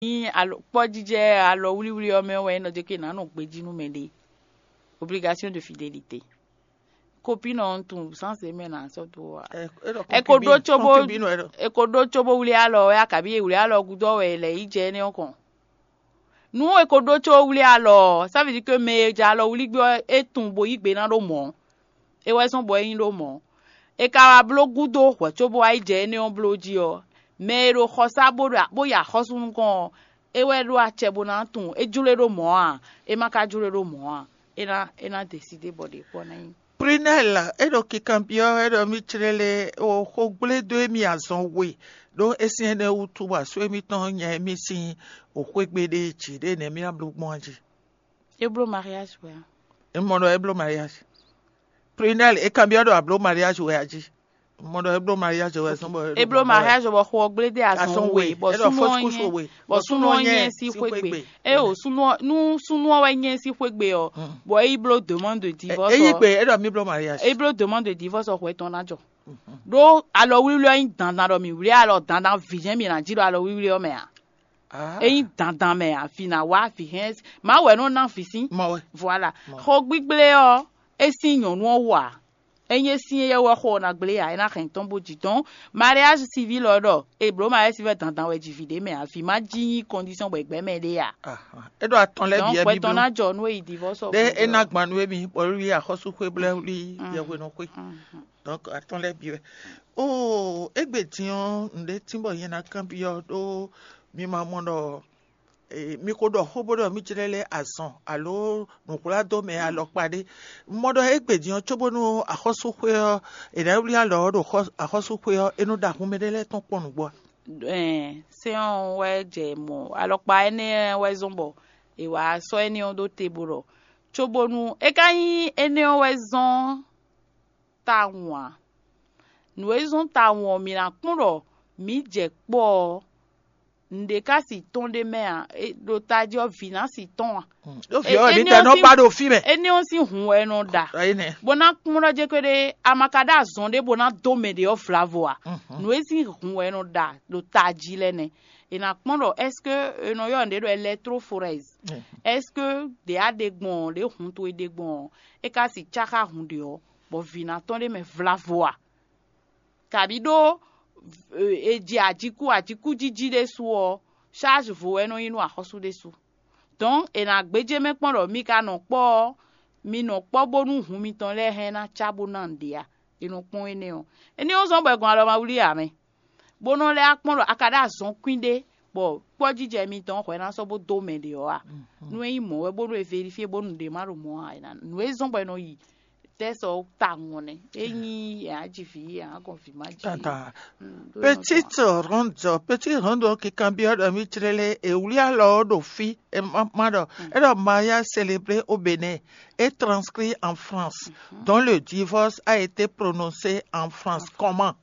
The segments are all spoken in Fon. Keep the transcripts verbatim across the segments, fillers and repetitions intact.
Ní alɔ kpɔ́jijɛ alɔ wlíwlí ɔ́ mɛ wɛ é nɔ dó ke nǎ nɔ gbejí nú mɛɖé. Obligation de fidélité. Copine ɔ́, un tunwun sánse mɛ nǎ sɔ́ dó wa. Ɛ ko ɖó cóbó ɛ ko ɖó cóbó wlí alɔ wɛ, akabi e wlí alɔ gúdo ɔ́ wɛ è lɛ yi jɛ énɛ́ ɔ́ kɔn. Nú è ko ɖó có wlí alɔ ɔ́, ça veut dire que mɛ e jɛ alɔ wlí gbé ɔ́, é tunwun bo yí gbe ná ɖó mɔ̌. É wɛ zɔ́n bɔ é nyí ɖó mɔ̌. È ka wá bló gúdo hwɛ̌ cóbó wá yi jɛ énɛ́ ɔ́ bló jí ɔ́, mɛ e ɖo xɔsá bó ɖo bó yi axɔ́sú nukɔn ɔ́, é wɛ ɖó acɛ bó ná tunwun é jló e ɖó mɔ̌ a? É ma ka jló e ɖó mɔ̌ a? É ná é ná deside bɔ ɖě kpɔ́ ná nyí. Prunelle, é ɖo kikanbyɔ́, é ɖɔ mì clélé o xó gblé dó émí azɔn we, ɖó é sín énɛ́ wútu bɔ asú émítɔn nya émí sín o xwé gbe ɖé jí ɖé nɛ̌ mì ná bló gbɔn jí. É bló mariage wɛ a? É mɔ ɖɔ é bló mariage. Prunelle, é kanbyɔ́ ɖɔ a bló mariage wɛ a jí? Mɔ ɖɔ é bló mariage wɛ zɔn bɔ é bló mariage bɔ xɔ gblé dé azɔn we bɔ súnú ɔ́ nyɛ bɔ súnú ɔ́ nyɛ sí xwé gbe. É o súnú ɔ́ nú súnú ɔ́ wɛ nyɛ sí xwé gbe ɔ, bɔ é yi bló demande de divorce. É yi gbe é ɖɔ mi bló mariage. É bló demande de divorce ɔ hwɛ tɔn ná jɔ. Ɖó alɔ wlíwlí ɔ́ nyí dandan ɖɔ mi wlí alɔ dandan vǐ jɛ́n mi ná jí ɖo alɔ wlíwlí ɔ́ mɛ a? É nyí dandan mɛ a, vǐ ná wá vǐ hɛn má wɛ nɔ ná vǐ sín. Voilà. Xɔ gbígblé ɔ́, é sín nyɔ̌nu ɔ́ wú a? Ényí é sín éyɛ́ wɛ xo ɔ́ ná gblé ǎ, é ná hɛn tɔ́n bó jǐ dɔn. Mariage civil ɔ́ ɖɔ è blǒ mariage civil dandan wɛ ji vǐ ɖé mɛ ǎ, vǐ ma jí nyí condition bɔ è gbɛ́ mɛ ɖé ǎ. É ɖo atɔn lɛ́ɛ bǐ wɛ hwɛ tɔn ná jɔ nú é yi divorce ɔ́. Ɖé é ná gban nú émí bɔ wlí axɔ́súxwé blɛ́ wlí yɛhweɖɔxwé. Donc atɔn lɛ́ɛ bǐ wɛ. Oo, égbé din ɔ́, nǔɖé tín bɔ nyɛ ná kanbyɔ́ ɖó mi ma mɔ ɖɔ mi ko ɖɔ xó bó ɖɔ mì jlɛ́ lɛ́ azɔn alo nǔhwládó mɛ alɔkpa ɖé. Un mɔ ɖɔ égbé din ɔ́, cóbónú axɔ́súxwé ɔ́, è nǎ wlí alɔ ɔ́ ɖo axɔ́súxwé ɔ́, é nɔ ɖo ahun mɛɖé lɛ́ɛ tɔn kpɔ́n nǔgbó a? Sɛ́n ɔ́ wɛ jɛ mɔ̌, alɔkpa énɛ́ wɛ zɔ́n bɔ è wǎ sɔ́ énɛ́ ɔ́ ɖó te bó ɖɔ, cóbónú é ka nyí énɛ́ ɔ́ wɛ zɔ́n tawun ǎ. Nǔ e zɔ́n tawun ɔ́, mǐ ná kpɔ́n ɖɔ mǐ jɛ kpɔ́ ɔ́, nǔɖé ka si tɔn ɖ'é mɛ ǎ; ɖo tají ɔ́, vǐ ná si tɔn ǎ. Ɖó vǐ ɔ́ wɛ mǐ tɛ nɔ ba ɖo fí mɛ. Énɛ́ ɔ́ sín hun wɛ é nɔ ɖa, bó ná kpɔ́n ɖɔ jɛ́n kpéɖé a ma ka ɖó azɔn ɖé bó ná dó mɛ ɖě ɔ́ vlavo ǎ. Nǔ e sín hun wɛ é nɔ ɖa ɖo tají lɛ́ɛ nɛ́. È nǎ kpɔ́n ɖɔ est-ce que è nɔ ylɔ́ nǔɖé ɖɔ électrophorèse? Est-ce que ɖě a ɖe gbɔn ɔ́, ɖě hun towe ɖe gbɔn ɔ́, é ka si cá xá hun ɖě ɔ́, bɔ vǐ ná tɔn ɖ'é mɛ vlavo a? Kabǐ ɖó è ji ajíkú ajíkújíjí ɖésú ɔ́, charge vo wɛ é nɔ nyí nú axɔ́sú ɖésú. Donc è nǎ gbéjé mɛ kpɔ́n ɖɔ mi ka nɔ kpɔ́ ɔ́, mi nɔ kpɔ́ bónú hun mitɔn lɛ́ɛ hɛn ná cá bó ná nǔɖé a? È nɔ kpɔ́n énɛ́ ɔ́. Énɛ́ ɔ́ zɔ́n bɔ è gɔn alɔ ma wlí ǎ mɛ, bó nɔ́ lɛ́ wá kpɔ́n ɖɔ a ka ɖó azɔn kwín ɖé, bɔ kpɔ́jijɛ mitɔn hwɛ ná sɔ́ bó dó mɛ ɖě ɔ́ a? Nú é nyí mɔ̌ wɛ bónú è vérifié bónú nǔɖé má ɖo mɔ̌ ǎ, nǔ e zɔ́n bɔ è nɔ yi tɛ́ sɔ tawun ɔ́ nɛ́. Ényí è nǎ ji vǐ, è nǎ gɔn vǐ má ji. Tata. Petite ronde, petite ronde ɔ́ kikanbyɔ́ ɖɔ mì clélé è wlí alɔ ɔ́ ɖo fí, è ma ɖɔ é ɖɔ mariage célébré au Bénin et transcrit en France, dont le divorce a été prononcé en France. Comment?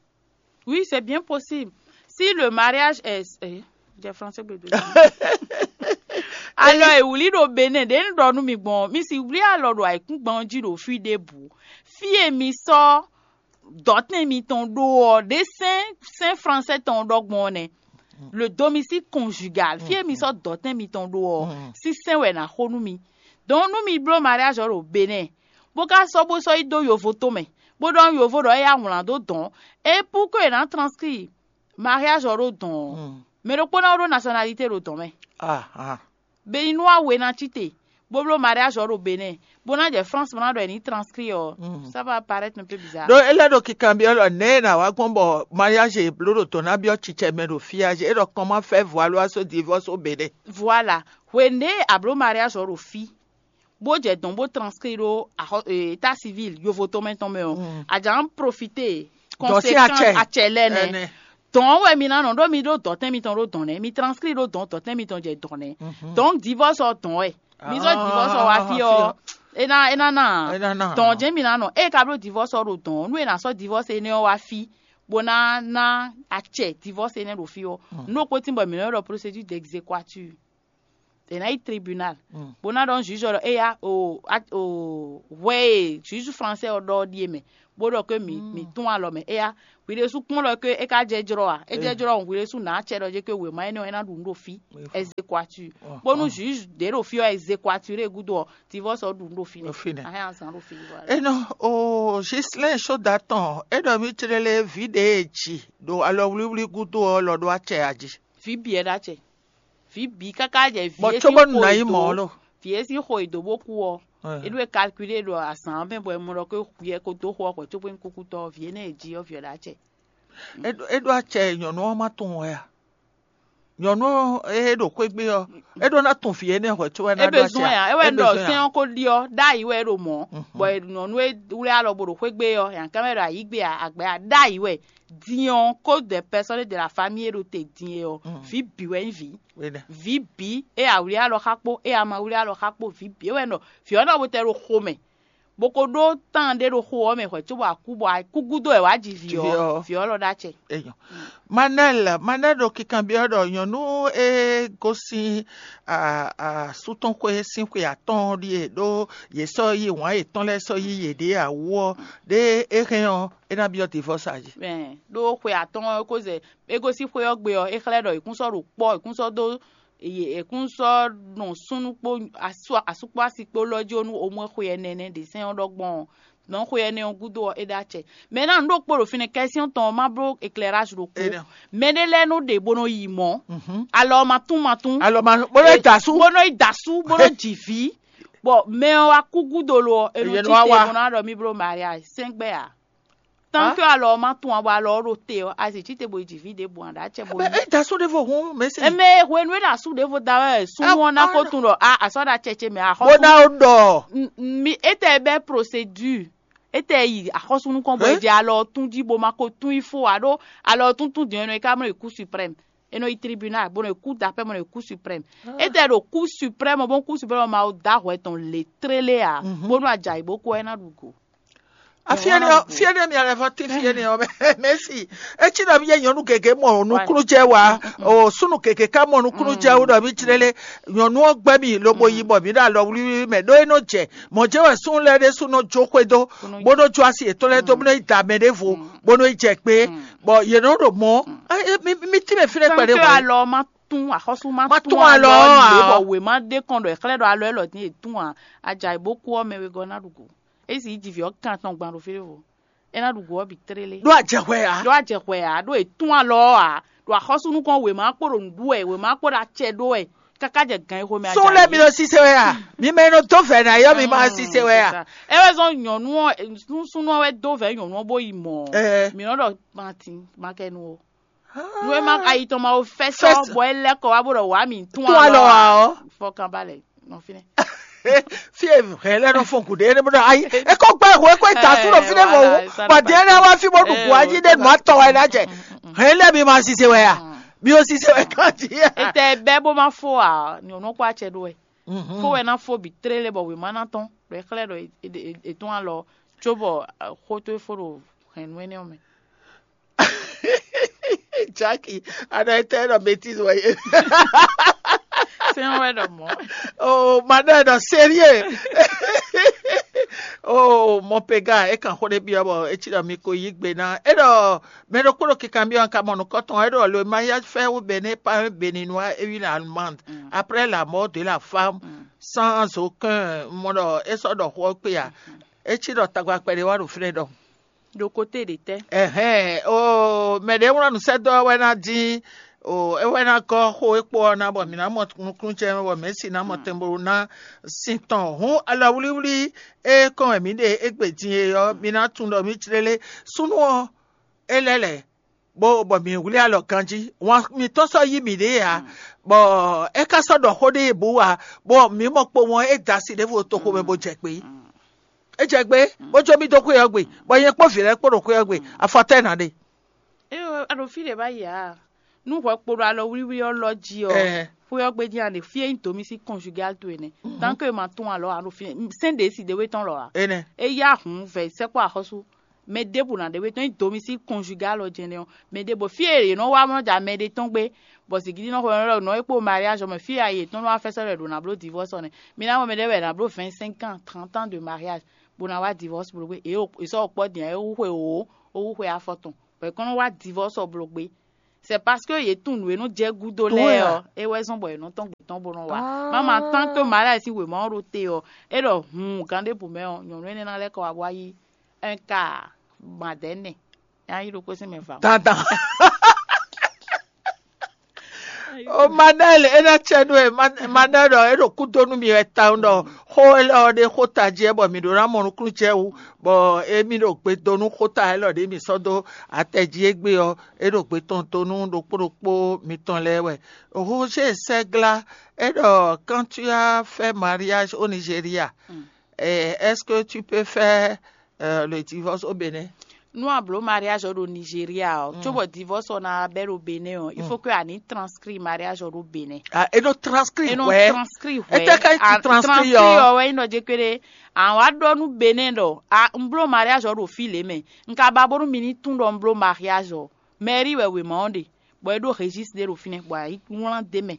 Oui, c'est bien possible. Si le mariage est eh, j'ai français gbedó. Alors, è wlí ɖo Bénin ɖě un ɖɔ nú mi gbɔn, mi si wlí alɔ ɖo ayǐkúngban jí ɖo fí ɖěbǔ. Fí e mi sɔ́ dɔ̌tɛn mitɔn ɖó ɔ́, ɖě sɛ́n sɛ́n français tɔn ɖɔ gbɔn ɔ́ nɛ́. Le domicile conjugal, fí e mi sɔ́ dɔ̌tɛn mitɔn ɖó ɔ́, sín sɛ́n wɛ è nǎ xo nú mi. Donc nú mi bló mariage ɔ́ ɖo Bénin, bó ka sɔ́ bó sɔ́ yi dó yovo tomɛ, bó ɖɔ nú yovo ɖɔ é yá wlǎn dó dɔ̌n, é pú ko è nǎ transcrit mariage ɔ́ ɖó dɔ̌n ɔ́, mɛ ɖokpó ná ɖó nationalité ɖo dɔ̌n mɛ. Béninois we ná cí te, bó bló mariage ɔ́ ɖo Bénin, bó ná jɛ France bó ná ɖɔ è ní transcrit ɔ́, ça va paraître un peu bizarre. Ɖó é lɛ́ ɖo kikanbyɔ́ ɖɔ nɛ̌ e nǎ wá gbɔn bɔ mariage e bló ɖo dɔ̌n ná byɔ́ cicɛ mɛ ɖo fí a? É ɖɔ comment faire voir loi so divorce au Bénin. Voilà. Hwenu e a bló mariage ɔ́ ɖo fí, bó jɛ dɔ̌n bó transcrit ɖó état civil yovo tɔn mɛ tɔn mɛ ɔ́, a jǎ profité conséquence acɛ lɛ́ɛ nɛ́. Dɔ̌n wɛ mi ná nɔ ɖó mi ɖó dɔ̌tɛn mitɔn ɖó dɔ̌n nɛ́, mi transcrit ɖó dɔ̌n, dɔ̌tɛn mitɔn jɛ dɔ̌n nɛ́. Donc divorce ɔ́ dɔ̌n wɛ. Mi sɔ́ divorce ɔ́ wá fí ɔ́, é ná é ná ná dɔ̌n jɛ́n mi ná nɔ. Ée ka bló divorce ɔ́ ɖo dɔ̌n, nú è nǎ sɔ́ divorce énɛ́ ɔ́ wá fí, bó ná ná acɛ divorce énɛ́ ɖo fí ɔ́, nú ɖokpó tín bɔ mǐ nɔ ɖɔ procédure d'exéquatur. è nǎ yi tribunal, bó ná ɖɔ nú juge ɔ́ ɖɔ éya o, o hwɛ e juge français ɔ́ ɖɔ ɔ́ ɖíe mɛ, bó ɖɔ ké mǐ mǐ tún alɔ mɛ éya. Hwi ɖésú kpɔ́n ɖɔ ké é ka jɛ jlɔ́ a? É jɛ jlɔ́ hɔn hwi ɖésú nǎ acɛ ɖɔ jɛ ké wěma énɛ́ ɔ́ é ná ɖu nǔ ɖo fí, exéquature. Bónú juge ɖě ɖo fí ɔ́, exéquature e gúdo ɔ́, divorce ɔ́ ɖu nǔ ɖo fínɛ́. Ɖo fínɛ́. Ahɛn azǎn ɖo fí wá. Enɔ o Gislɛn sóda tɔn é ɖɔ mí tlélé vǐ ɖě e ji ɖo alɔwlíwlí gúdo ɔ́ lɔ ɖó acɛ a jí. Vǐ bǐ wɛ ɖó acɛ. Vǐ bǐ káká jɛ vǐ Bɔ é sín cóbɔ xo nǔ ná nyí mɔ̌ lo. Vǐ é sín xo e dǒ bó kú ɔ́, é ɖó é calculé ɖo azǎn ɔ́ mɛ bɔ è mɔ ɖɔ ké hwi ɛ ko dó xo ɔ́ hwɛ̌ cóbó nyí kúkútɔ́ ɔ́, vǐ énɛ́ e jí ɔ́ vǐ ɔ́ ɖó acɛ. É ɖó é ɖó acɛ e nyɔ̌nu ɔ́ ma tunwun wɛ a? Nyɔ̌nu ɔ́ e ɖo xwé gbe ɔ́, é ɖó ná tunwun vǐ énɛ́ hwɛ̌ có wɛ ná É ɖó acɛ besoin a? Ya, é wɛ É ɖɔ besoin a? Sɛ́n ɔ́ ko ɖi ɔ́, ɖ'ayǐ wɛ é ɖo mɔ̌, bɔ nyɔ̌nu e wlí alɔ bo ɖo xwé gbe ɔ́, yǎnkán wɛ ɖo ayǐ gbe a, agbɛ a, ɖ'ayǐ wɛ. Din ɔ́, ko dɛ pɛsɔ́n de la famille e ɖo te din e ɔ́, vǐ bǐ wɛ nyí vǐ. Vǐ bǐ e a wlí alɔ xá kpó, e a ma wlí alɔ xá kpó, vǐ bǐ e wɛ nɔ vǐ ɔ́ nɔ bo tɛ ɖo xo mɛ, bó ko ɖó tán ɖé ɖo xo ɔ́ mɛ hwɛ̌ cóbɔ a kú bɔ a kú gúdo wɛ wǎ ji vǐ Ji vǐ ɔ́, ɔ́. Vǐ ɔ́ lɔ ɖó acɛ. Enyɔ. Manɛl, Manɛl ɖo kikanbyɔ́ ɖɔ nyɔ̌nu e gosín asú tɔn xwé sín xwe atɔ́ɔ́n ɖíe ɖó yě sɔ́ yí wǎn yětɔn lɛ́ɛ sɔ́ yí yěɖée ǎ wú ɔ́, ɖé é hɛn ɔ́, é ná byɔ́ divɔ́sa jí. Mɛ ɖó xwe atɔ́ɔ́n ɔ́, é ko zɛ é gosín xwé ɔ́ gbe ɔ́, é xlɛ́ ɖɔ è kún sɔ́ ɖo kpɔ́, è kún sɔ́ dó è kún sɔ́ nɔ súnnu kpó asú kpó asi kpó lɔ jí ó nú omɔ́ xwe ɛnɛ nɛ́ ɖě sɛ́n ɔ́ ɖɔ gbɔn ɔ́. Nɔ̌ xwe ɛnɛ ɔ́ gúdo ɔ́, é ɖó acɛ. Mɛ ná nǔ ɖokpó ɖo fínɛ́, kɛ́syɔ́n tɔn ɔ́ má bló éclairage ɖokpó. Mɛɖé lɛ́ɛ nɔ ɖe bó nɔ yi mɔ̌, alɔ ɔ́ ma tún ma tún. Alɔ ma bó nɔ da sú. Bó nɔ yi da sú, bó nɔ ji vǐ. Bɔ mɛ ɔ́ wá kú gúdo lo ɔ́, è nɔ Èyí cí nɔ wá te wá. Bó nɔ wá ɖɔ mí bló mariage sɛ́ngbɛ́ ǎ. Tant que alɔ ɔ́ ma tún ǎ, bɔ alɔ ɔ́ ɖo te ɔ́, a zě cí te bo yi ji vǐ ɖěbǔ ǎ, ɖó acɛ bo Mɛ yí. É da sú ɖěvo hǔn mɛ sí. Eme hwenu e ɖo asú ɖěvo da wɛ súnnu ɔ́ ná ko tunwun ɖɔ a asɔ ɖo acɛ ce mɛ axɔ́sú. Bó ná ó ɖɔ. Mi étɛ bɛ procédure, étɛ yi axɔ́sú nukɔn bɔ é jɛ alɔ ɔ́ tún jí bó ma ko tún yi fó ǎ, ɖó alɔ ɔ́ tún tún din ɔ́, é nɔ yi ká mɔ yi kú suprême, é nɔ yi tribunal bó nɔ yi kú d'appel bó nɔ yi kú suprême. Étɛ ɖo kú suprême ɔ́, bó kú suprême ɔ́ ma da hwɛ tɔn lě tlélé ǎ, bónú ajayi bó kú ɔ́ é ná ɖu go. Afiɛnɛ ɔ fiɛnɛ mi alɛ fɔ ti fiɛnɛ ɔ mɛsi. Etsi ɖɔ mi yɛ nyɔnu gege mɔ nukunu jɛ wa o sunu gege ka mɔ nukunu jɛ wo ɖɔ mi tsirele. Nyɔnu ɔ gbɛ mi lobo yi bɔ mi ɖo alɔ wliwli mɛ ɖo e nɔ jɛ mɔ jɛ wɛ sun lɛ ɖe sun nɔ jo xwe do, bo nɔ jo asi etɔn lɛ do bo nɔ yi da mɛ ɖe vo, bo nɔ yi jɛ gbe, bɔ yɛ nɔ ɖo mɔ. Mi ti mɛ fi ɖe kpɛɖe Tanke wɔ alɔ ma tún axɔsu ma Ma tún tún alɔ alɔ a? Bɔ wema ɖe kɔn ɖɔ exlɛ ɖɔ alɔ elɔ din etún a ajayi bo kú ɔ mɛ wegɔ na ɖu go. Esi yi ji vǐ ɔ́ kan tɔn gban ɖo fí ɖěvo. É ná ɖu go ɔ́ bǐ tlélé. Ɖó a jɛ hwɛ ǎ. Ɖó a jɛ hwɛ ǎ, ɖó è tún alɔ ɔ́ ǎ, ɖo axɔ́súnukɔn wěma kpo ɖo nǔ ɖu wɛ, wěma kpo ɖo acɛ ɖó wɛ, káká jɛ gan e xomɛ Sún lɛ́ɛ mi nɔ sise wɛ a? Mi mɛ e nɔ dó vɛ̌ ná yɔ mi ma sise wɛ a? É wɛ zɔn nyɔ̌nu ɔ́, súnnu ɔ́ wɛ dó vɛ̌ nyɔ̌nu ɔ́ bó yi mɔ. Ɛɛ. Mi nɔ ɖɔ matin makɛnu o. Nú é má ayi tɔn ma wo fɛ́sɔ́ Fɛ́sɔ́. Bɔ é lɛ́ kɔ wá bó ɖɔ wǎ mǐ tún Tún alɔ alɔ wá ǎ ɔ́. Fɔkànbalẹ̀ nɔ fínɛ́. Fie hɛn lɛ nɔ fɔn kuɖe ne bɔ ayi eko gbɛ ho eko ita tu ɖo fi ɖe vɔ wo bɔ diɛ ne wa fi bɔ ɖu gu ayi ɖe nɔ atɔ wa na jɛ hɛn lɛ mi ma sise wɛ ya mi o sise wɛ kan ti ya. Ètè bɛ́ bó má fó à nyɔ̌nu kó acɛ ɖó wɛ. Fó wɛ ná fó bǐ tlélé bɔ wěma ná tɔn ɖo é xlɛ́ ɖɔ è tún alɔ cóbɔ xó tó é fó ɖo hɛ̌nnu énɛ́ ɔ́ mɛ. Jackie, ana etɛ nɔ bêtise wɛ ye. Sɛn wɛ ɖɔ mɔ. Oh, madame, non, sérieux. Oh, mon péga, e kan xó ɖé byɔ́ bɔ e ci ɖɔ mi ko yí gbe ná. E ɖɔ mɛ ɖokpó ɖo kikanbyɔ́ ka mɔ nukɔntɔn, e ɖɔ le mariage fait au Bénin par un Béninois et une Allemande après la mort de la femme sans aucun mɔ ɖɔ e sɔ ɖɔ xó kpé a. E ci ɖɔ tagba kpɛɖé wá ɖo fínɛ́ ɖɔ. Ɖo kote ɖě tɛ́? Ɛhɛn, o mɛ ɖě wlán nǔsɛ́dó ɔ́ wɛ ná dín o é wɛ ná gɔ́ xó e kpo ɔ́ ná bɔ mǐ ná mɔ nukúnnú ce mɛ bɔ mɛ̌si ná mɔ tɛnbolu ná sin tɔn hǔn alɔwlíwlí e kɔn wɛ mǐ ɖe égbé din e ɔ́, mi ná tunwun ɖɔ mǐ jlélé súnnu ɔ́ é lɛ́ lɛ̌ bó bɔ mǐ wlí alɔ ganjí. Wǎn mǐtɔn sɔ́ yí mǐɖée ǎ, bɔ é ka sɔ́ ɖɔ xó ɖé bǔ ǎ, bɔ mǐ mɔ kpowun ɔ́ é da asi ɖěvo toxo mɛ bó jɛ gbé. É jɛ gbé, bó jó mì dó xwé ɔ́ gbe, bɔ nyɛ kpó vǐ lɛ́ɛ kpó ɖo xwé ɔ́ gbe, afɔtɛ́ nǎ ɖe. Éyo, a ɖo fí ɖě bá yi ǎ. Nú hwɛ kpo ɖo alɔ wlíwlí ɔ́ lɔ jí ɔ́, Ɛɛ. Xwé ɔ́ gbe jí a ɖe fí e nyí domicile conjugal towe nɛ́. Tant que ma tún alɔ a ɖo fí sɛn ɖě si ɖé wé tɔn lɔ ǎ. Énɛ́. É yá hǔn vɛ sɛkpɔ axɔ́sú. Mɛ ɖěbǔ ná ɖe wé tɔn nyí domicile conjugal ɔ́ jɛnɛ ɔ́, mɛ ɖěbǔ fí e yě nɔ wá nɔ ja mɛ ɖé tɔn gbé, bɔ zǐngídi nɔ xo nɔ nɔ é kpo mariage ɔ́ mɛ fí e ayi yětɔn nɔ wá fɛ́sɔ́ lɛ́ ɖo ná bló divorce ɔ́ nɛ́. Mi ná mɔ mɛ ɖé wɛ ná bló vingt cinq ans, trente ans de mariage, bó ná wá divorce bló gbé. È sɔ́ kpɔ́ din é wú xwe wǒ, ó wú xwe afɔ tɔn, bɔ è kɔn nɔ wá divorce ɔ́ bló gbé. C'est parce que yě tunwun nǔ e nɔ jɛ gúdo lɛ́ɛ ɔ́, é wɛ zɔ́n bɔ yě nɔ tɔ́n gbě tɔn bó nɔ wá. Mama tant que mariage sín wěma ɔ́ ɖo te ɔ́, é ɖɔ hun gǎn ɖěbǔ mɛ ɔ́, nyɔ̌nu énɛ́ ná lɛ́ kɔ wá bó wá yí un ka madɛ̌nɛ. Nya yí ɖokpó sín mɛ va. Dandan. O Manɛl, é ná cɛ nú ɛ. Manɛl ɖɔ é ɖo kúdó nú mi wɛ tawun ɖɔ xó élɔ́ ɔ́ ɖé xó tají wɛ bɔ mǐ ɖó ná mɔ nukúnnú jɛ wú, bɔ émí ɖo gbe dó nú xóta élɔ́ ɖě mǐ sɔ́ dó atɛ jí égbé ɔ́, é ɖo gbe tɔn dó nú ɖokpó ɖokpó mitɔn lɛ́ɛ wɛ. Roger Sɛgla, é ɖɔ quand tu as fait mariage au Nigeria, eh, est-ce que tu peux faire euh, le divorce au Bénin? Nú a blǒ mariage ɔ́ ɖo Nigeria ɔ́, cóbɔ divorce ɔ́ ná bɛ́ ɖo Bénin ɔ́, il faut que a ní transcrit mariage ɔ́ ɖo Bénin. Ah, e nɔ transcrit. E nɔ wɛ. Transcrit wɛ. Ete ka ti transcrit ɔ. Ɔ wɛ nyí ɖɔ jɛ kpéɖé. Àwọn wá ɖɔ nú Bénin ɖɔ a un bló mariage ɔ́ ɖo fí lě mɛ. Un ka ba bónú mi ní tún ɖɔ un bló mariage ɔ́. Mairie wɛ wěma ɔ́ ɖe, bɔ é ɖó registre ɖé ɖo fínɛ́, bɔ a yi wlán d'é mɛ,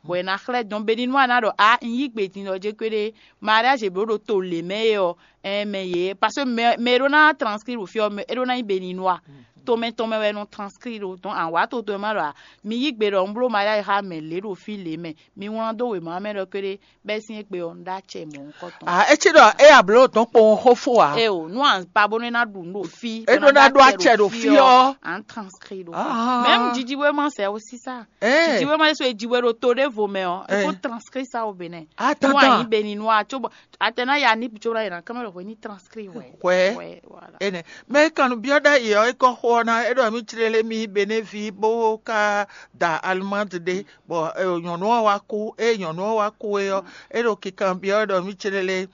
bɔ è nǎ xlɛ́ dɔn Beninois ná ɖɔ a un yí gbe din ɖɔ jé kpéɖé mariage e blǒ ɖo to lě mɛ é ɔ́, ɛn mɛ yě, parce que mɛ mɛ e ɖó ná transcrit ɖo fí ɔ́, mɛ é ɖó ná nyí Beninois. Tomɛ tɔn mɛ wɛ nɔ transcrit ɖo dɔn awǎ to tɔn mɛ má ɖɔ a mi yí gbe ɖɔ un bló mariage xá mɛ lě ɖo fí lě mɛ, mi wlán dó wěma mɛ ɖɔ kpéɖé bɛ́ sín égbé ɔ́, un ɖó acɛ mɔ̌hunkɔtɔn. Ah, é cí ɖɔ é ablǒ dɔn kpowun xó fó ǎ. Eo, nú à ń pa bónú é ná ɖu nǔ ɖo fí, é ɖó ná ɖó acɛ ɖo fí ɔ́, à ń transcrit ɖo fí. Même jijiwéma c'est aussi ça. Jijiwéma ɖésú e jiwe ɖo to ɖěvo mɛ ɔ́, é kó transcrit ça au Bénin. Nú à nyí Béninois, cóbɔ atɛ ná ya ní cóbɔ ná yě ná kán mɛ ɖo hwɛ ní transcrit wɛ. Hwɛ. Énɛ́. Mɛ e kan nǔ byɔ́ ɖ'ayǐ ɔ́, é kɔ xo ɔ́ ná, é ɖɔ mì tlélé mì Bénévi bó ka da Allemande ɖé. Bɔ nyɔ̌nu ɔ́ wá kú, ée nyɔ̌nu ɔ́ wá kú é ɔ́, é ɖo kikanbyɔ́ wɛ ɖɔ mì céɖélé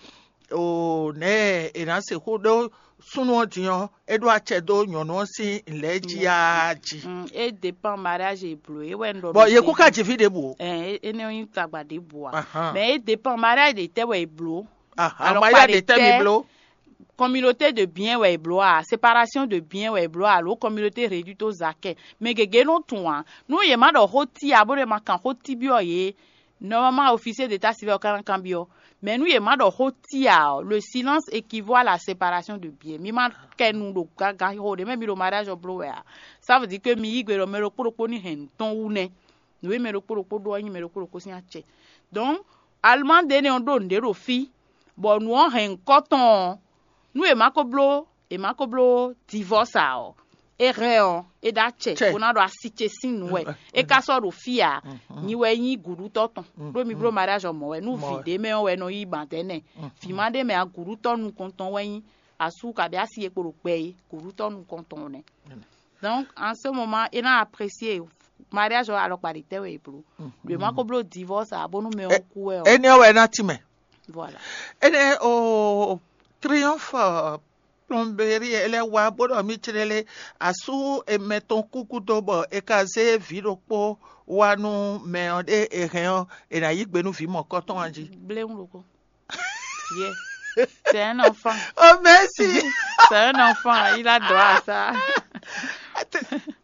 o nɛ̌ è nǎ sixú ɖó súnnu ɔ́ din ɔ́, é ɖó acɛ dó nyɔ̌nu ɔ́ sín lɛ̌ jí á jí. Mm, é dépend mariage e blǒ é wɛ un ɖɔ. Bɔ yě kú ka ji fí ɖěbǔ o. Ɛ é nɔ nyí tagba ɖěbǔ a. Mɛ é dépend mariage ɖě tɛ́ wɛ è blǒ. Alɔkpa ɖě tɛ́ mi bló. Communauté de bien wɛ è blǒ a, séparation de bien wɛ è blǒ a, alo communauté réduite aux acquêts. Mɛ gěgé nɔ tunwun ǎ. Nú yě má ɖɔ xó tí ǎ bó ɖo ma kan xó tí byɔ́ yě, normalement officier d'état civil ɔ́ ka ná kanbyɔ́. Mais nú yě má ɖɔ xó tí ǎ ɔ́, le silence équivaut à la séparation de bien. Mi ma kɛ nu ɖo gaga xo ɖě mɛ mi ɖo mariage ɔ́ bló wɛ a. Ça veut dire que mi yí gbe ɖɔ mɛ ɖokpó ɖokpó ní hɛn nǔ tɔn wú nɛ́. Nǔ e mɛ ɖokpó ɖokpó ɖó ɔ́ nyí mɛ ɖokpó ɖokpó sín acɛ. Donc, Allemande énɛ́ ɔ́ ɖó nǔɖé ɖo fí, bɔ nǔ ɔ́ hɛn nyǐkɔ tɔn ɔ́, nú è má ko bló è má ko bló divorce ǎ ɔ́, é hɛn ɔ́, é ɖó acɛ bó ná ɖo asi ce sín nǔ wɛ. É ka sɔ́ ɖo fí ǎ, nyi wɛ nyí gǔɖutɔ́ tɔn. Ɖó mi bló mariage ɔ́ mɔ̌ wɛ, nú vǐ ɖé mɛ ɔ́ wɛ nɔ yí ban dɛ̌ nɛ, vǐ ma ɖé mɛ ǎ, gǔɖutɔ́ nukɔntɔn wɛ nyí asú kabi asi e kpo ɖo gbɛ é, gǔɖutɔ́ nukɔntɔn nɛ́. Donc en ce moment é ná apprécier mariage ɔ́ alɔkpa ɖě tɛ́ wɛ è blǒ. Ɖě ma ko bló divorce ǎ bónú mɛ ɔ́ kú wɛ ɔ́. Énɛ́ ɔ́ wɛ ná tínmɛ. Voilà. Énɛ́ o triomphe plomberie é lɛ́ wá bó ɖɔ mì clélé asú e mɛ tɔn kú gúdo bɔ è ka zé vǐ ɖokpó wá nú mɛ ɔ́ ɖé è hɛn ɔ́, è nǎ yí gbe nú vǐ mɔ̌kɔtɔn ɔ́ jí. Bléwún ɖokpó. Yeah. C'est un enfant. Oh, merci. C'est un enfant. Il a droit à ça.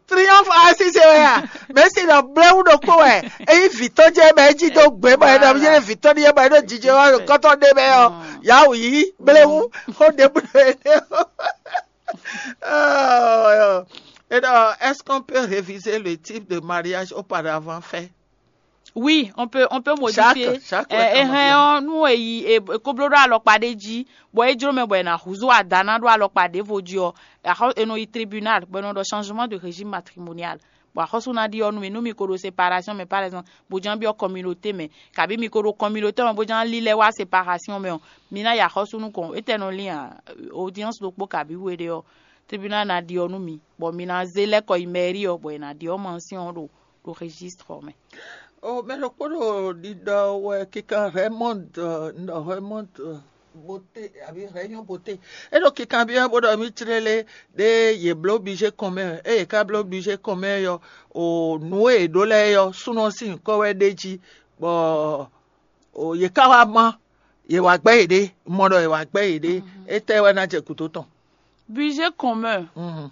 Triomphe asise wɛ ya. Merci ɖɔ bléwu ɖokpó wɛ. Eyi vitɔ jɛ bɛ edzi do gbé bɔ ɛdɔ yɛ vitɔ ni yɛ bɔ ɛdɔ dzidze wa kɔtɔ ɖe bɛ ɔ. Yawu yi bléwu xo ɖe bu ɖe. Et donc, est-ce qu'on peut réviser le type de mariage auparavant fait? Oui, on peut, on peut modifier. Chaque, chaque, euh, ouais, ehɛn ɔ nú èyí e kóbló ɖó alɔkpa ɖé jí bɔ é jló mɛ bɔ è nǎ húzú ada ná ɖó alɔkpa ɖěvo jí ɔ, axɔ è nɔ yi tribunal bɔ è nɔ ɖɔ changement de régime matrimonial. Bɔ axɔ́sú ná ɖi ɔ́ nú mi nú mi ko ɖo séparation mɛ par exemple bó ján byɔ́ communauté mɛ, kabi mi ko ɖo communauté mɛ bó ján lílɛ́ wá séparation mɛ ɔ, mi ná yi axɔ́sú nukɔn étɛ́ nɔ lín a? Audience ɖokpó kabi we ɖé ɔ, tribunal ná ɖi ɔ́ nú mi, bɔ mi ná zé lɛ́ kɔ yi mairie ɔ bɔ è nǎ ɖi ɔ́ mansin ɔ́ ɖo ɖo registre ɔ́ mɛ. O mɛ ɖokpó ɖo ɖiɖɔ wɛ kíkan Raymond, un ɖɔ Raymond Boté abi Raymond Boté. É ɖo kíkan byɔ́ bó ɖɔ mì clélé ɖé yě bló bíjé kɔn mɛ, ée yě ká bló bíjé kɔn mɛ ɔ́, o nǔ e è ɖó lɛ́ɛ ɔ́, súnnu ɔ́ sín nyǐkɔ wɛ ɖ'é jí, bɔ o yě ká wá má, yě wá gbɛ́ yěɖée, un mɔ ɖɔ yě wá gbɛ́ yěɖée, étɛ́ wɛ ná jɛ gǔdo tɔn? Budget commun. Mhm.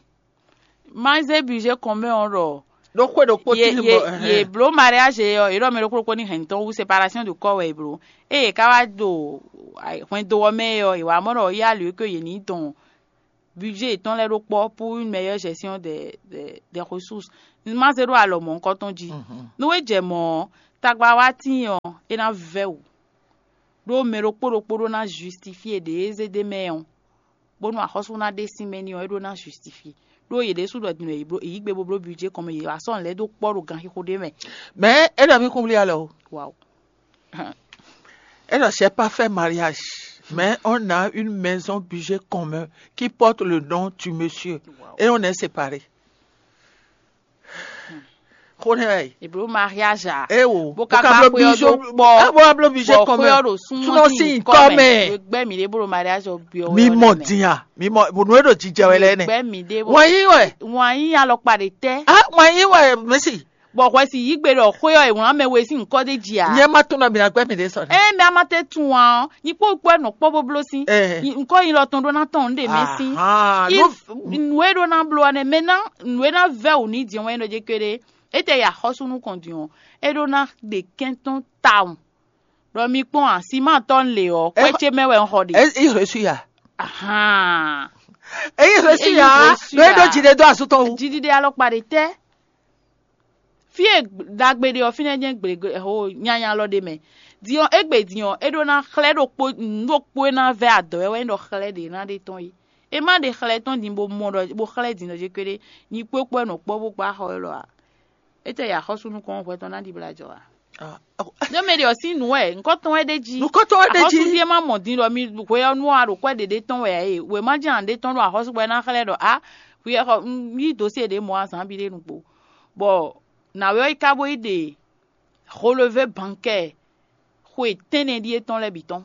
Ma zé budget commun ɔ́ ɖɔ ɖó xwé ɖokpó ye tín ye bɔ ye bló mariage ɔ́, yě ɖɔ mɛ ɖokpó ɖokpó ní hɛn tɔn wú, séparation de corps wɛ yě bló. Ée yě ká wá ɖo hwɛndo ɔ́ mɛ ɔ́, yě wá mɔ ɖɔ yá lě que yě ní dɔn budget yětɔn lɛ́ɛ ɖó kpɔ́ pour une meilleure gestion des des des ressources. Ma zé ɖó alɔ mɔ̌hunkɔtɔn jí. Mhm. Nú é jɛ mɔ̌ ɔ́, tagba wá tíin ɔ́, é ná vɛ́ wǔ. Ɖó mɛ ɖokpó ɖokpó ɖó ná justifié ɖě é zé ɖ'é mɛ ɔ́, bónú axɔ́sú ná ɖe sín mɛ n'i ɔ́, é ɖó ná justifié. Ɖó yě ɖésú ɖɔ din wɛ yě bló yě yí gbe bó bló budget kɔn mɛ, yě wá sɔ́ nǔ lɛ́ɛ dó kpɔ́ ɖo ganxixo ɖé mɛ. Mais é ɖɔ mì kún blí alɔ o. Wawu. É ɖɔ c'est pas faire mariage, mais on a une maison budget commun qui porte le nom du monsieur. Wawu. Et on est séparés. Xó nɛ́ wɛ. È bló mariage a? É wo. Bó ka gba xwé ɔ́ dó kpɔ́. Bó ka bló bíjé kɔn mɛ. Xwé ɔ́ ɖo súnmọ́ sí nyǐkɔ mɛ. Gbɛ́ mǐ ɖé bó ɖo mariage ɔ́ byɔ́ wɛ. Mi mɔ din a? Mi mɔ bó nú é ɖo jijɛ wɛ lɛ́ nɛ. Gbɛ́ mǐ ɖé bó. Wǎn yí wɛ. Wǎn yí alɔkpa ɖe tɛ́. Ah, wǎn yí wɛ mɛsi. Bɔ hwɛ si yí gbe ɖɔ xwé ɔ́ è wlǎn mɛ we sín nyǐkɔ ɖé jí a? Nyɛ ma tunɔ mi ná gbɛ́ mi ɖé sɔ nɛ. Ée mɛ a ma tɛ tunwun ɔ́, nyí kpó kpó ɛ nɔ kpɔ́ bó bló sín. Ɛ. Nyí ŋkɔ nyi lɔ tɔn ɖó ná tɔn nǔ ɖe mɛ sín. Ahan, If nǔ e ɖó ná bló ɔ́ nɛ́ mɛ ná nǔ e ná vɛ́ wǔ ní din wɛn ɖɔ jɛ kéré. Étɛ́ ya xɔ́sú nukɔn din ɔ́, é ɖó ná ɖe kɛn tɔn tawun. Ɖɔ mi kpɔ́n a, siman tɔn le ɔ́, kwɛ́ ce mɛ wɛ un xɔ ɖe. É il reçu ya. Ahan. É il reçu ya. Ɖo é ɖó jǐɖé dó asú tɔn wú. Jiɖiɖe alɔkpa ɖe tɛ́. Fí e ɖagbe ɖe ɔ́, fínɛ́ jɛ́n gblěgblé ho nyanya lɔ ɖe mɛ. Din ɔ́, égbé din ɔ́, é ɖó ná xlɛ́ ɖokpó nǔ ɖokpó e ná vɛ́ adɔ̌ wɛ wɛ nyí ɖɔ xlɛ́ ɖě ná ɖe tɔn é. É má ɖe xlɛ́ tɔn din bó mɔ ɖɔ bó xlɛ́ din ɖɔ jɛ kpéɖé nyi kpókpó ɛ nɔ kpɔ́ bó gbá xɔ élɔ́ ǎ. Étɛ́ ya axɔ́sú nukɔn hwɛ tɔn ná ɖibla jɔ ǎ? Ɖó mɛ ɖe ɔ́ sín nǔ wɛ nukɔntɔn wɛ ɖé jí. Nukɔntɔn wɛ ɖé jí. Axɔ́sú ɖíe má mɔ din ɖɔ mi hwe ɔ́ nú a ɖo kwɛ́ ɖě ɖé tɔn wɛ ǎ e. Wěma jɛ́n a ɖě tɔn ɖo axɔ́sú bɔ é ná xlɛ́ ɖɔ a hwi ɛ xɔ un yí dǒsíe ɖě mɔ azǎn bi ɖé nukpo. Bɔ nǎwe ɔ́ yi ka bó yi ɖe relevé bankɛ́ɛ xwe tɛ́nnɛ ɖíe tɔn lɛ́ɛ bǐ tɔn.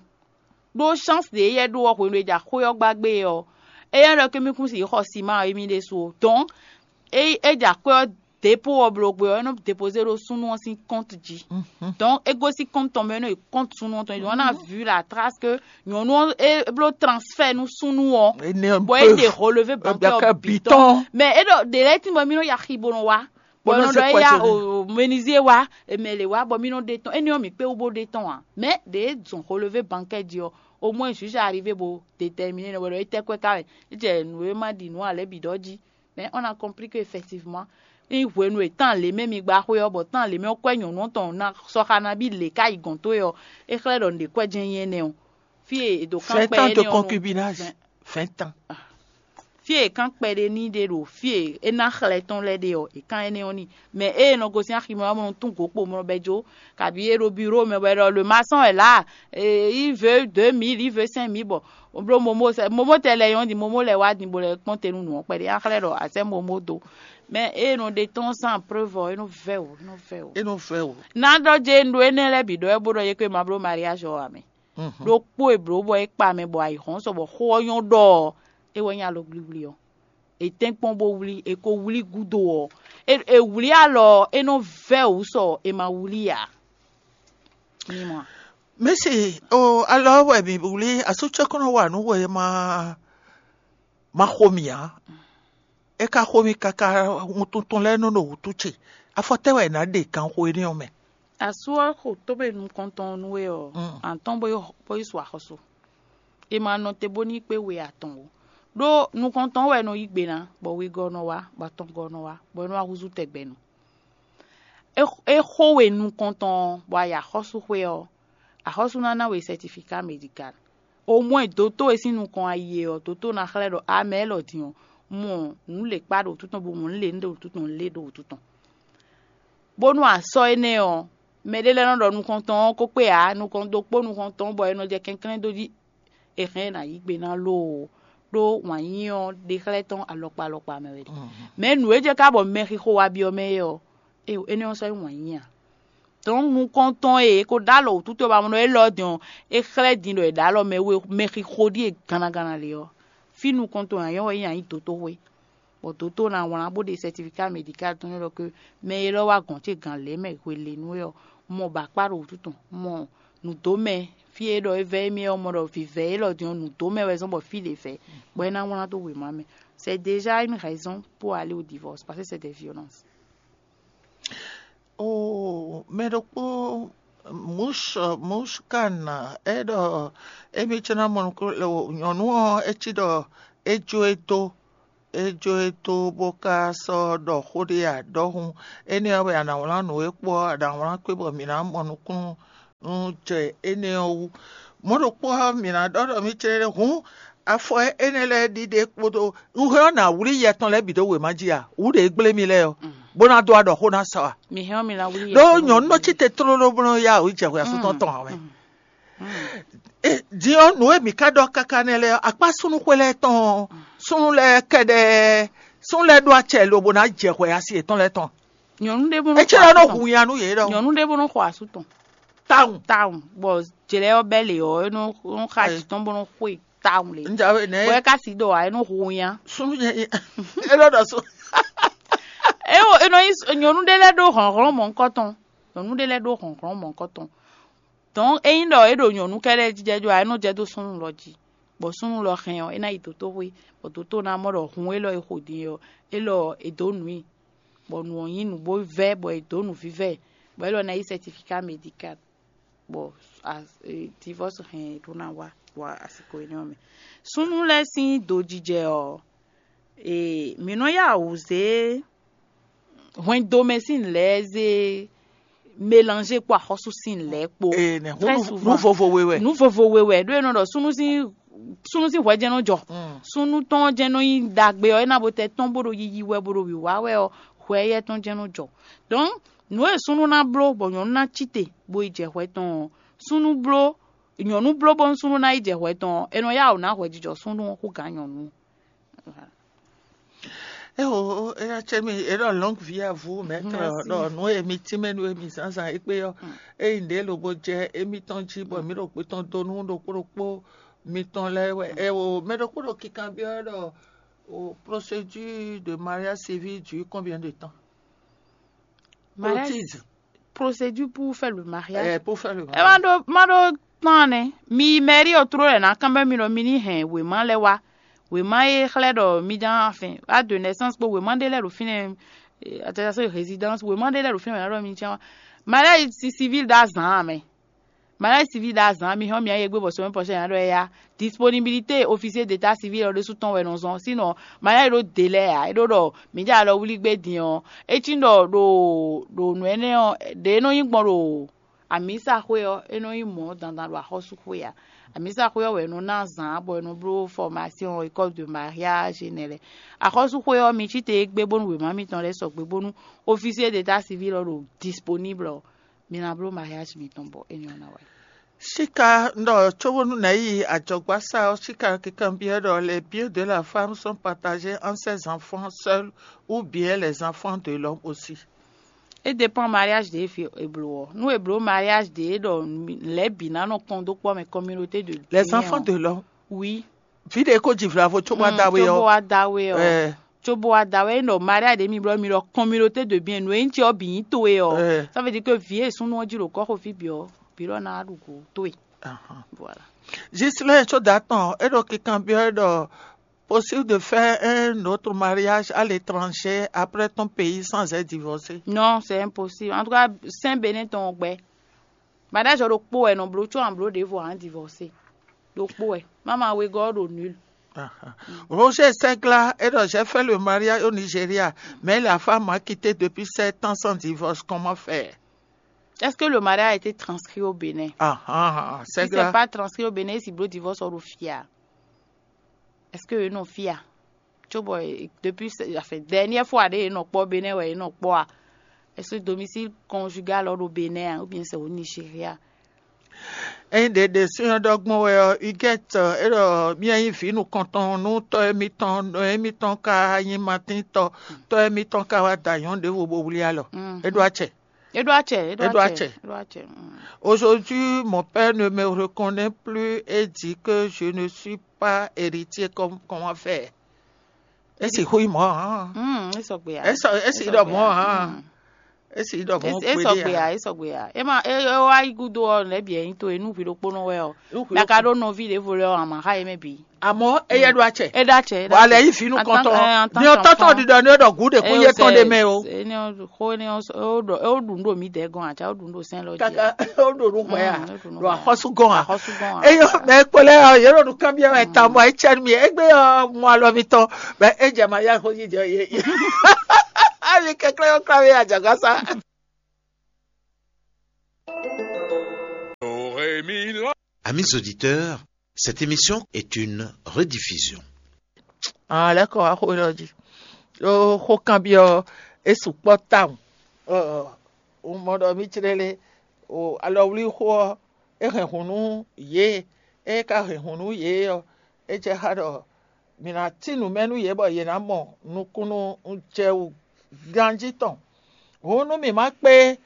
Ɖó chance ɖě éyɛ́ ɖó ɔ́ hwenu e ja xwé ɔ́ gbá gbé é ɔ́, éyɛ́ ɖɔ kémí kún sixú xɔ siman émí ɖésú ó. Donc é é ja xwé ɔ́ dépôt ɔ́ bló gbé ɔ́, é nɔ dépozé ɖó súnnu ɔ́ sín compte jí. Donc é gosín compte tɔn mɛ é nɔ yi compte súnnu ɔ́ tɔn jí. Donc on a vu la trace que nyɔ̌nu ɔ́ é bló transfert nú súnnu ɔ́, bɔ é ɖe relevé bankɛ́ ɔ́ bǐ tɔn. Mais é ɖɔ ɖě lɛ́ɛ tín bɔ mí nɔ yi axi bó nɔ wá. Bɔ é nɔ ɖɔ éyá o menuisier wá, mɛ lě wá bɔ mí nɔ ɖe tɔn. Énɛ́ ɔ́ mǐ kpé wú bó ɖe tɔn ǎ. Mais ɖě zɔn relevé bankɛ́ jí ɔ́, au moins juge arrivé bo déterminer nɔ bɔ ɖɔ étɛ́ kwɛ́ ka wɛ. É jɛ nǔ e ma ɖi nǔ ǎ lɛ́ɛ bǐ ɖɔ jí. Mais on a compris que effectivement ní hwenu e tán lě mɛ mi gba xwé ɔ́, bɔ tán lě mɛ ɔ́ kwɛ́ nyɔ̌nu ɔ́ tɔn ná sɔ́ xá ná bí lě ká yi gɔ̌n towe ɔ́, é xlɛ́ ɖɔ nǔɖé kwɛ́ jɛ́n nyí énɛ́ ɔ́. Fí e è dǒ kán kpɛ énɛ́ ɔ́ nú. Vingt ans de concubinage. Vingt ans. Fí e è kán kpɛɖé n'i ɖe ɖo fí e é ná xlɛ́ tɔn lɛ́ɛ ɖe ɔ́, è kán énɛ́ ɔ́ n'i. Mɛ ée è nɔ gosín aximɛ ɔ́, bó nɔ tún gǒ kpo, bó nɔ bɛ́ jó, kabi é ɖo biro mɛ bɔ è ɖɔ le maçon est là, il veut deux mille, il veut cinq mille, bɔ bló momo sɛ momo tɛ lɛ yɔn di momo lɛ wá din bó lɛ kpɔ́n te nú nǔ ɔ́ kpɛɖé á xlɛ́ ɖɔ à sɛ́ momo dó. Mɛ ée nɔ ɖe tɔn sans preuve ɔ́, é nɔ vɛ́ wǔ, é nɔ vɛ́ wǔ. É nɔ vɛ́ wǔ. Ná ɖɔ jɛ un ɖó énɛ́ lɛ́ɛ bǐ ɖɔ é bó ɖɔ yě kó ma bló mariage ɔ́ ǎ mɛ. Ɖokpó e blǒ bɔ é kpa mɛ bɔ ayǐhɔ́n sɔ bɔ xó ɔ́ nyɔ́ ɖɔ ɔ́, é wɛ nyí alɔgblíblí ɔ́. È tɛ́nkpɔ́n bó wlí, è ko wlí gúdo ɔ́, è wlí alɔ ɔ́, é nɔ vɛ́ wǔ sɔ è ma wlí ǎ. Mi mɔ a? Mɛ̌si, o alɔ ɔ́ wɛ mǐ wlí asú cɛ́ kɔn nɔ wa nǔ wɛ ma ma xo mì ǎ. É ka xo mì káká, wuntun tɔn lɛ́ɛ nɔ ɖo wǔtu ce. Afɔ tɛ́ wɛ è nǎ ɖe ganxo énɛ́ ɔ́ mɛ? Asú ɔ́ xo tómɛ nukɔntɔn nú we ɔ́, atɔ́n bó yi bó yi su axɔ́sú. È ma nɔ te bó ní kpé we atɔn ó. Ɖó nukɔntɔn wɛ nɔ yí gbe ná, bɔ wegɔ́ nɔ wá, bɔ atɔngɔ́ nɔ wá, bɔ é nɔ wá húzú tɛgbɛnu. É é xo we nukɔntɔn ɔ́, bɔ a yi axɔ́súxwé ɔ́, axɔ́sú ná ná we sɛtifika medikal. Omwɛ́ dotó e sín nukɔn a yi e ɔ́, dotó ná xlɛ́ ɖɔ a mɛ élɔ́ din ɔ́, mɔ nǔ lě kpá ɖo wútu tɔn, bó mɔ nǔ lě ɖo wútu tɔn, nǔ lě ɖo wútu tɔn. Bónú a sɔ́ énɛ́ ɔ́, mɛɖé lɛ́ɛ nɔ ɖɔ nukɔntɔn ɔ́ ko kpé ǎ, nukɔn ɖokpó nukɔntɔn bɔ è nɔ jɛ kɛnklɛ́n dó jí. È hɛn ɛ ná yí gbe ná loo, ɖó wǎn yíyí ɔ́ ɖe xlɛ́ tɔn alɔkpa alɔkpa mɛ wɛ ɖe. Mɛ̌ nǔ e jɛ ká bɔ mɛxixo wá byɔ́ mɛ é ɔ́, énɛ́ ɔ́ sɔ́ nyí wǎn yíyí a? Dɔ̌n nukɔntɔn e è ko ɖó alɔ wǔtu towe ba mlɔ́ élɔ́ din ɔ́, é xlɛ́ din ɖɔ è ɖǒ alɔ mɛ we mɛxixo ɖíe gannaganna lě ɔ́, fí nukɔntɔn e a nyɔ́ wɛ nyí a nyǐ dotóxwé, bɔ dotó ná wlán bó ɖe sɛtifiká medikál tɔn n'i ɖɔ ke mɛ élɔ́ wá gɔ̌n ce gǎn lě mɛ hwelěnu é ɔ́, un mɔ bɔ akpá ɖo wǔtu tɔn, un mɔ nǔdó mɛ, fí e ɖɔ é vɛ́ émí ɔ́, mɔ ɖɔ vǐvɛ́ élɔ́ din ɔ́, nǔdó mɛ wɛ zɔ́n bɔ fí ɖě vɛ́, bɔ é ná wlán dó wěma mɛ. C'est déjà une raison pour aller au divorce, parce que c'est des violences. O mɛ ɖokpó Mush Mushkan, é ɖɔ émí cɛ́ ná mɔ nukún nyɔ̌nu ɔ́, é cí ɖɔ é jó e dó é jó e dó bó ka sɔ́ ɖɔ xó ɖé a? Ɖɔhun énɛ́ ɔ́ wɛ a nǎ wlán nǔ e kpo ɔ́, a nǎ wlán kpé bɔ mǐ ná mɔ nukúnnú jɛ énɛ́ ɔ́ wú. Mɔ̌ ɖokpó ɔ́, mǐ ná ɖɔ ɖɔ mì céɖéɖé hǔn afɔ énɛ́ lɛ́ɛ ɖiɖe kpódó un hɛn ɔ́ nǎ wlí yɛ tɔn lɛ́ɛ bǐ dó wěma jí a? Wǔ ɖě gblé mì lɛ́ɛ ɔ́, bó ná dó aɖɔ xó ná sa a? Mi hɛn ɔ́, mi ná wlí yɛ Ɖó tɔn. Nyɔ̌nu nɔ cí te tlóló bó nɔ́ yá wǔ jɛ hwɛ asú tɔn tɔn ǎ mɛ. Din ɔ́, nǔ e mǐ ka ɖɔ káká nɛ́ lɛ́ɛ ɔ́, akpá súnnuxwé lɛ́ɛ tɔn ɔ́, súnnu lɛ́ɛ kɛɖɛɛ súnnu lɛ́ɛ ɖó acɛ lobo ná jɛ hwɛ asi yětɔn lɛ́ɛ tɔn. Nyɔ̌nu ɖé bó nɔ É cí lɔ nɔ hu nya nú yě ɖɔ nyɔ̌nu ɖé bó nɔ xɔ asú tɔn tawun. Tawun, bɔ jlɛ ɔ́ bɛ́ lě ɔ́, é nɔ é nɔ xa Ayi. Jǐ tɔn bó nɔ xwe tawun lě. Njawe nɛ Bɔ é ka si ɖɔ ǎ, é nɔ hu nya. Súnnu nyɛ é lɔ ɖɔ sún. É wo é nɔ nyí nyɔ̌nu ɖé lɛ́ɛ ɖó hlɔ̌nhlɔ́n mɔ̌hunkɔtɔn. Nyɔ̌nu ɖé lɛ́ɛ ɖó hlɔ̌nhlɔ́n mɔ̌hunkɔtɔn. Dɔn ényí ɖɔ é ɖo nyɔ̌nu kɛ́ɖɛ́ jijɛ jó ǎ, é nɔ jɛ dó súnnu lɔ jí. Bɔ súnnu lɔ hɛn ɔ́, é ná yi dǒtóxwé, bɔ dǒtó ná mɔ ɖɔ hun élɔ́ e xo din ɔ́, élɔ́ è dǒ nǔ i, bɔ nǔ ɔ́ nyí nǔ bó vɛ́, bɔ è dǒ nǔvívɛ́, bɔ élɔ́ ná yí certificat médical, bɔ divorce hɛn ɖó ná wá wa asiko énɛ́ ɔ́ mɛ. Súnnu lɛ́ɛ sín dojijɛ ɔ́, e mǐ nɔ yá wǔ zé hwɛndo mɛ sín lɛ́ɛ zé mélanger kpó axɔ́sú sín lɛ́ɛ kpó. Ee, nɛ Très nu souvent. Vovo we wɛ. Nu vovo we wɛ ɖó e nɔ ɖɔ súnnu sín súnnu sín hwɛ jɛ́n nɔ jɔ. Mm. Súnnu tɔn jɛ́n nɔ nyí ɖagbe ɔ́, é ná bo tɛ tɔn bó ɖo yiyi wɛ, bó ɖo wǐwá wɛ ɔ́, hwɛ éyɛ́ tɔn jɛ́n nɔ jɔ. Donc nǔ e súnnu ná bló bɔ nyɔ̌nu ná cí te bó yi jɛ hwɛ tɔn ɔ́, súnnu bló nyɔ̌nu bló bónú súnnu ná yi jɛ hwɛ tɔn ɔ́, è nɔ yá wǔ ná hwɛjijɔ súnnu ɔ́ hú gǎn nyɔ̌nu. Eo, eya cɛ mi e ɖɔ longue vie à vous maître. Merci. Ɖɔ nu e mi tínmɛ nu e mi zǎnzǎn égbé ɔ́, eyi nɖě lobo jɛ émítɔn jí bɔ mǐ ɖo gbé tɔn dó nú ɖokpó ɖokpó mitɔn lɛ́ɛ wɛ. Eo, mɛ ɖokpó ɖo kikan byɔ́ ɖɔ o procédure de mariage civil dure combien de temps? Mariage Otise. Procédure pour faire le mariage. Eh, pour faire le Ɛ ma mariage. ɖo ma ɖo tán nɛ. Mi mairie ɔ tró lɛ ná kán bɛ mi ɖɔ mi ní hɛn wěma lɛ wá. Wěma e xlɛ́ ɖɔ mi ján afin a de naissance kpó wěma ɖé lɛ ɖo fínɛ́. Attestation de résidence wěma ɖé lɛ ɖo fínɛ́ wɛ ná ɖɔ mi ján wá. Mariage ci- civil ɖo azǎn mɛ. Mariage civil ɖo azǎn mi hɔn mi ayé gbé bɔ semaine prochaine ná ɖɔ ya. Disponibilité officier d'état civil ɔ ɖésú tɔn wɛ nɔ zɔn. Sinon mariage ɖo délai a é ɖó ɖɔ mi jɛ alɔ wlí gbé din ɔ. É cí ɖɔ ɖo ɖo nǔ énɛ́ ɔ ɖě nɔ nyí gbɔn ɖo amǐsaxwé ɔ́, é nɔ nyí mɔ̌ dandan ɖo axɔ́súxwé ǎ. Amǐsaxwé ɔ́ wɛ è nɔ ná zǎn bɔ è nɔ bló formation école de mariage nɛ lɛ́ɛ. Axɔ́súxwé ɔ́, mi cí te égbé bónú wěma mitɔn lɛ́ɛ sɔgbe bónú officier d'état civil ɔ́ ɖo disponible ɔ́, mi ná bló mariage mitɔn bɔ énɛ́ ɔ́ ná wá. Sika ɖɔ tso bónú nɛ yi ajɔgbasa ɔ́, sika kikan byɔ́ ɖɔ les biens de la femme sont partagés entre ses enfants seuls ou bien les enfants de l'homme aussi. É dépend mariage ɖě fi eblo ɔ. Nú eblo mariage ɖě ɖɔ lɛ̌ bǐ ná nɔ kɔn dó kpɔ́ mɛ communauté de Les biens enfants ɔ. De l'homme. Oui. Vi ɖe ko dzi vla vo tso bó Mm, adawe tso bó ɔ. wá dawe ɔ. Eh, Tso bó wá dawe é nɔ mariage ɖě mi blɔ mi ɖɔ communauté de biens nǔ e nyí ce ɔ bǐ nyí towe ɔ. Eh. Ça veut dire que vǐ e súnnu ɔ́ jí ɖo kɔ́xo fí bǐ ɔ bǐ ɖɔ ná ɖu go towe. Ahan. Voilà. Gislain tso da tɔn e ɖo kikan byɔ́ ɖɔ possible de faire un autre mariage à l'étranger après ton pays sans être divorcé. Non, c'est impossible. En tout cas, sɛn Bénin tɔn gbɛ. Mariage ɔ ɖokpó wɛ nɔ bló tso an bló ɖěvo an divorcé. Ɖokpó wɛ. Mama wegɔ́ ɖo nul. Ahan. Roger Segla e ɖɔ j'ai fait le mariage au Nigeria mais la femme m'a quitté depuis sept ans sans divorce, comment faire? Est-ce que le mariage a été transcrit au Bénin? Ahan, Si c'est Segla. Pas transcrit au Bénin, si bló divorce ɔ ɖo fia. Est-ce que non fia? Tso bɔ depuis, enfin, dernière fois ɖé nɔ kpɔ Bénin wɛ nɔ kpɔ a? Est-ce que domicile conjugal ɔ ɖo Bénin a, ou bien c'est au Nigeria? Eyin ɖe ɖe sɔ́ ɖɔ gbɔn wɛ ɔ, Huguette e ɖɔ mía nyí vǐ nukɔntɔn nú tɔ́ émítɔn, nɔ émítɔn ka nyí Matín tɔ, tɔ́ émítɔn ka wá da nyɔ̌nu ɖěvo bó wlí alɔ. Mm. É ɖó acɛ. Eɖo atsɛ, eɖo Eɖo atsɛ, atsɛ. eɖo atsɛ. Mm. Aujourd'hui, mon père ne me reconnaît plus et dit que je ne suis pas héritier, comme comment faire? Esi hui mɔ hã. Mm, esɔgbe ya. Esi esi ɖɔ mɔ hã. Mm. É sì ɖɔ mɔ̌ é sɔgbe ǎ, é sɔgbe ǎ. É ma é é wá yí gúdo ɔ́, nɛ̌ bǐ wɛ nyí to e nú hwi ɖokpónɔ wɛ ɔ́, mɛ ka ɖó nɔví ɖěvo lɛ́ɛ ɔ́, a ma xá yě mɛ bǐ. Àmọ́ é yɛ ɖó acɛ. É ɖó acɛ, é ɖó bɔ alɛ acɛ. Yí vǐ nukɔntɔn. Ní ɔtɔ́tɔn ɖiɖɔ ní ɖɔ gǔ ɖě kún yé tɔn ɖé mɛ o. Xó énɛ́ ɔ́, ó ɖu nǔ ɖo mǐdɛɛ gɔn ǎ, cá ó ɖu nǔ ɖo sɛ́n lɔ jí. Kaka ó ɖo nǔ hwɛ a? Ɖo axɔ́sú gɔn a? Axɔ́sú gɔn a? Eyɔ mɛ kpo lɛ ɔ yɛ ɖo nukánbyɔ wɛ ta mɔ etsɛ mi egbe ɔ mɔ alɔ mi tɔn bɛ edze ma ya xo yi jɛ ye. Ami kɛklɛ yɔ kura mi adzɔgasa. Amis auditeurs, cette émission est une rediffusion. Lɛ́kɔ wá xó élɔ́ jí. Ɖó xó kanbyɔ́ é sukpɔ́ tawun. Un mɔ ɖɔ mí clélé o alɔwlíxó ɔ́, é hɛn hun nú yě. É ka hɛn hun nú yě ɔ́, é jɛ xá ɖɔ mǐ ná cí nǔ mɛ nú yě bɔ yě ná mɔ nukúnnú jɛ wú ganjí tɔn. Hǔn nú mǐ má kpé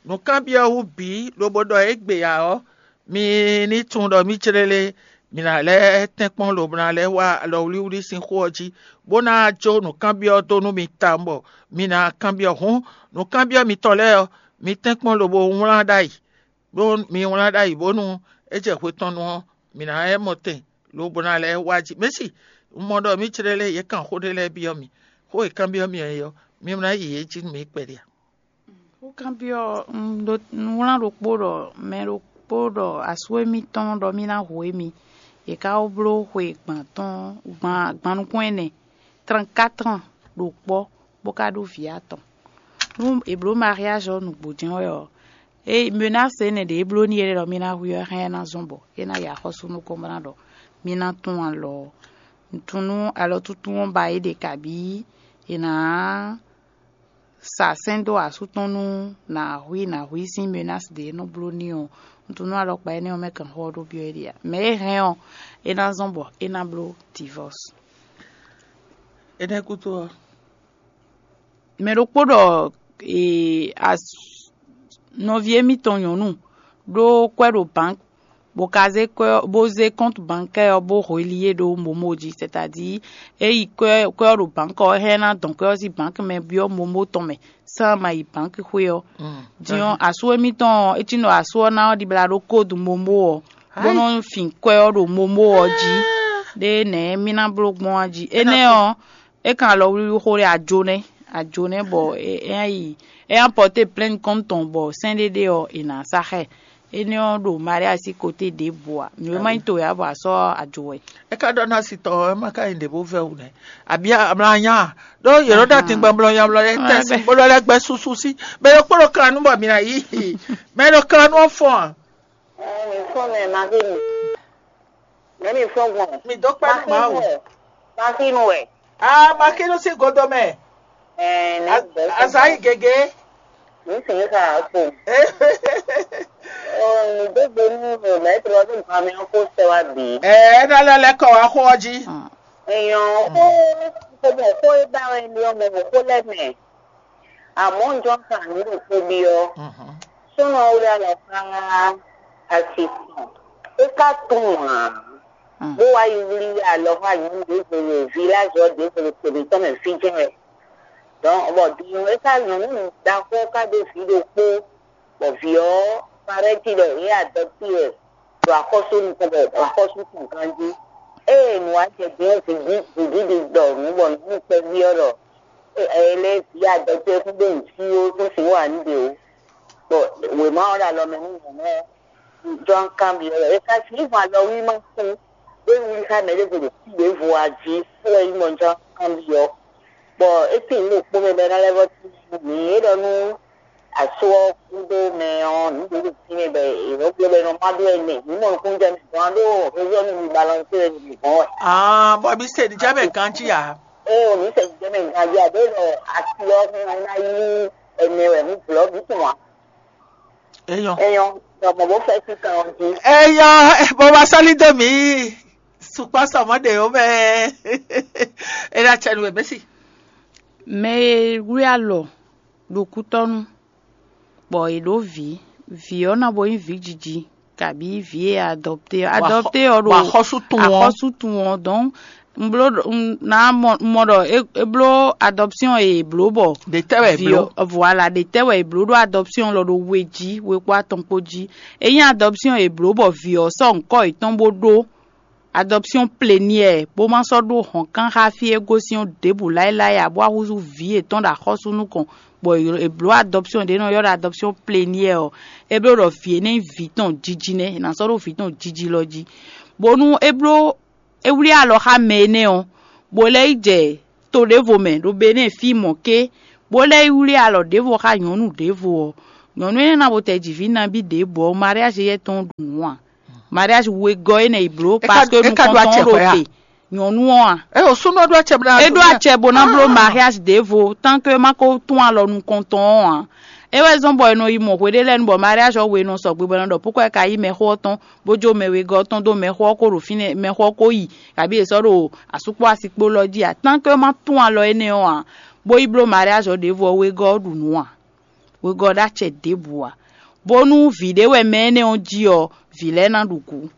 nǔkanbyɔ́ wú bǐ lobo ɖɔ égbé ǎ ɔ́, mi ní tunwun ɖɔ mǐ clélé mǐ ná lɛ́ tɛ́nkpɔ́n lobo ná lɛ́ wá alɔwlíwlí sín xó ɔ́ jí, bó ná jó nǔkanbyɔ́ dó nú mi tawun bɔ mi ná kanbyɔ́. Hǔn nǔkanbyɔ́ mitɔn lɛ́ɛ ɔ́, mi tɛ́nkpɔ́n lobo wlán ɖ'ayǐ. Bó mi wlán ɖ'ayǐ bónú é jɛ hwe tɔn nu ɔ́, mǐ ná lɛ́ mɔ tɛn lobo ná lɛ́ wá jí. Mɛ̌si, un mɔ ɖɔ mǐ clélé yě kan xó ɖé lɛ́ɛ byɔ́ mì. Xó e kanbyɔ́ mì ɔ́ é ɔ́, mi ná yi yě jí nú mǐ kpɛɖé a? Xó kanbyɔ́ un ɖó un wlán ɖokpó ɖɔ mɛ ɖokpó ɖɔ asú émítɔn ɖɔ mí ná hu émí. Yě ká wó bló xwe gban tɔn gban gban nukún ɛnɛ, trɛnkátrɔn ɖo kpɔ́, bó ka ɖó vǐ atɔn. Nú è blǒ mariage ɔ́ nǔgbó jɛ́n wɛ ɔ́, é menace énɛ́ ɖě é bló n'i é ɖɔ mì ná hu ɔ́ hɛn ná zɔ́n bɔ é ná yi axɔ́sú nukɔn bó ná ɖɔ mì ná tún alɔ ɔ́. Un tunwun nú alɔtúntún ɔ́ ba é ɖe kabǐ è nǎ sa sɛ́n dó asú tɔn nú nǎ hu i nǎ hu i sín menace ɖě e nɔ bló n'i ɔ́. Un tunwun nú alɔkpa énɛ́ ɔ́ mɛ kɛnxɔ ɔ́ ɖó byɔ́ é ɖe ǎ. Mɛ e hɛn ɔ́, é ná zɔ́n bɔ é ná bló divorce. Énɛ́ gúdo ɔ́, mɛ ɖokpó ɖɔ ee as nɔví émítɔn nyɔ̌nu ɖó kwɛ́ ɖo bank bó ka zé kwɛ́ ɔ́ bó zé kɔ́ntu bankɛ́ ɔ́ bó hweli é ɖó momo jí, c'est-à-dire é yi kwɛ́ kwɛ́ ɔ́ ɖo bank ɔ́ hɛn ná dɔn kwɛ́ ɔ́ sín bank mɛ byɔ́ momo tɔn mɛ, sán ma yi bank xwé ɔ́. Din ɔ́, asú émítɔn ɔ́, é cí nɔ asú ɔ́ ná ɔ́ ɖibla ɖó kódu momo ɔ́, bó nɔ́ fin kwɛ́ ɔ́ ɖo momo ɔ́ jí. Ɖé nɛ̌ mí ná bló gbɔn ɔ́ jí? Énɛ́ ɔ́, é kan alɔwlíwlí xó ɖé ajo nɛ́, ajo nɛ́ bɔ é é ná yi é ná pɔté plɛ́n kɔ́n tɔn bɔ sɛ́n ɖé ɖé ɔ́, è nǎ sa xá ɛ. Énɛ́ ɔ́ ɖo Maria sín koté ɖěbǔ ǎ. Nǔ e má nyí to wɛ ǎ bɔ a sɔ́ ajo wɛ. É ka ɖɔ ná si tɔ ɔ́, é má ka nyí ɖě bó vɛ́ wú nɛ́. Abǐ amlanya ɖó yě nɔ ɖo atin gbɔn mlɔnya mlɔ lɛ́ɛ tɛ́ sin bó lɔ lɛ́ gbɛ́ súsú sí. Mɛ ɖokpó ɖo klanu bɔ mǐ ná yí. Mɛ ɖo klanu ɔ́ fɔ́n a? Ɛ, mi fɔ́n mɛ Marie mi. Mɛ mi fɔ́n gbɔn. Mi dó kpɛ́ nú Mawu. Marie mi wɛ. Marie mi wɛ. Aa, Makinu sín godo mɛ. Ɛ, nɛ gbɛ. Azayi gege. Mi sìn ka ko. Ɔ, mi dó gbe nú mɛtro ɔ́ ɖo gan mi ɔ́ kó sɛ wá bǐ. Ɛ, é ná lɛ́ lɛ́ kɔ wá xó ɔ́ jí. Èèyàn ó kó mọ̀ kó é bá wɛ ní ọmọ wò kó lẹ́mẹ̀. Àmọ́ ń jọ ń kà ní lè kó bí ọ́. Súnà ó yà lọ ká àsìkò. É ká tún wà. Bó wá yí wlí àlọ́ fún àyè ń dé gbèrè village ɔ́ dé gbèrè tèmi tɔn mɛ fí jẹ́ wɛ. Donc, bɔ din ɔ́, é ká nyɔ̌nu ɖaxó ká ɖó vǐ ɖokpó, bɔ vǐ ɔ́ parɛ́ jí ɖɔ yě adɔtí wɛ ɖo axɔ́sú nukɔn bɔ axɔ́sú tɔn ganjí. Ée nǔ wá jɛ din ɔ́, vǐ vǐɖiɖi ɖɔ nǔ bɔ nǔ kpɛví ɔ́ ɖɔ é lɛ́ vǐ adɔtí wɛ kún ɖó nǔ cí ó tún sǐn wa nǔ ɖe ó. Bɔ wěma ɔ́ ɖo alɔ mɛ nú nyɔ̌nu ɔ́, jɔ ń kanbyɔ́ wɛ. È ka sixú hɔn alɔwlí ma kú, bó yi wlí xá mɛ ɖěvo ɖo kú ɖěvo a jí, kú wɛ nyí mɔ jɔ ń kanbyɔ́. Bɔ é tín nǔ ɖokpó mɛ bɔ é ná lɛ́ vɔ́ tín nú mǐ. É ɖɔ nú asú ɔ́ gúdo mɛ ɔ́, nǔ ɖě ɖo fínɛ́ bɔ è nɔ gblé bɔ è nɔ má ɖó ɛnɛ. Mǐ mɔ nukúnnú jɛ mǐ gɔ́n ɖó rézɔ́ nú mi balɔnsé wɛ mi gɔ́n wɛ. Ah, bɔ mi se ɖi jɛ mɛ ganjí ǎ. Ée o mǐ se ɖi jɛ mɛ ganjí ǎ, ɖó ɖɔ asi ɔ́ hɛn ɔ́ ná yí ɛnɛ wɛ mǐ blɔ̌ mǐ tunwun ǎ. Eyɔn. Eyɔn, ɖɔ mɔ bó fɛ́ sín kan ɔ́ jí. Eyɔn, bó wá sɔ́ lídó mǐ sukpɔ́ sɔmɔ́ ɖe ó mɛ. É ná cɛ nú wɛ bɛ́ si. Mɛ e wlí alɔ ɖo kútɔ́nú, bɔ è ɖǒ vǐ, vǐ ɔ́ ná bo nyí vǐ jiji, kabǐ vǐ e adɔpté ɔ́. Adɔpté ɔ́ ɖo bɔ axɔ́sú tun ɔ́. Axɔ́sú tun ɔ́, donc Un bló ɖɔ- un ná mɔ un mɔ ɖɔ é é bló adɔpsyɔn e è blǒ bɔ Ɖe tɛ́ wɛ è vǐ bló? Ɔ́, voilà, ɖe tɛ́ wɛ è blǒ ɖó adɔpsyɔn lɔ ɖo we jí, we kpó atɔn kpó jí. Ényí adɔpsyɔn e è blǒ bɔ vǐ ɔ́ sɔ́ ŋkɔ́ yětɔn bó ɖó adɔpsyɔn pleniɛ bó má sɔ́ ɖó hɔ̌nkan xá fí e gosín ɔ́ ɖěbǔ láéláé ǎ, bó wá húzú vǐ yětɔn ɖo axɔ́sú nukɔn, bɔ è blǒ adɔpsyɔn ɖě nɔ ylɔ́ ɖɔ adɔpsyɔn pleniɛ ɔ́, é bló ɖɔ vǐ énɛ́ nyí vǐ tɔn jiji nɛ́, è nǎ sɔ́ ɖó vǐ tɔn jiji lɔ jí. Bónú é bló é wlí alɔ xá mɛ énɛ́ ɔ́, bó lɛ́ yi jɛ to ɖěvo mɛ ɖo Benɛ́ɛ fí mɔ̌ ké, bó lɛ́ yi wlí alɔ ɖěvo xá nyɔ̌nu ɖěvo ɔ́, nyɔ̌nu énɛ́ ná bo tɛ ji vǐ nabí ɖěbǔ ɔ́, mariázi yɛ́ tɔn ɖu nǔ ǎ. Mariázi wegɔ́ énɛ́ yi blǒ É ka- paske é ka ɖó nukɔntɔn acɛ ɔ́ ɖo xwɛ a? Te nyɔ̌nu ɔ́ a? É o súnnu ɔ́ ɖó acɛ bó ná É ɖó acɛ bó ná bló mariázi ɖěvo, tán ke má ko tún alɔ nukɔntɔn ɔ́ ǎ. É wɛ zɔ́n bɔ è nɔ yi mɔ hweɖé lɛ́ɛ nu bɔ mariázi ɔ́ we nɔ sɔgbe bɔ è nɔ ɖɔ púkɔ é ka yí mɛxó ɔ́ tɔn, bó jó mɛ wegɔ́ ɔ́ tɔn dó mɛxó ɔ́ kó ɖo fínɛ́, mɛxó ɔ́ kó yi, kabí è sɔ́ ɖo asú kpó asi kpó lɔ jí ǎ. Tán ke má tún alɔ énɛ́ ɔ́ ǎ, bó yi bló mariázi ɔ́ ɖěvo ɔ́, wegɔ́ ɔ́ ɖu nǔ ǎ. Wegɔ́ ɔ́ ɖó acɛ ɖěbǔ ǎ. Bónú vǐ ɖé wɛ mɛ énɛ́ ɔ́ jí ɔ́, vǐ lɛ́ɛ ná ɖu gǔ.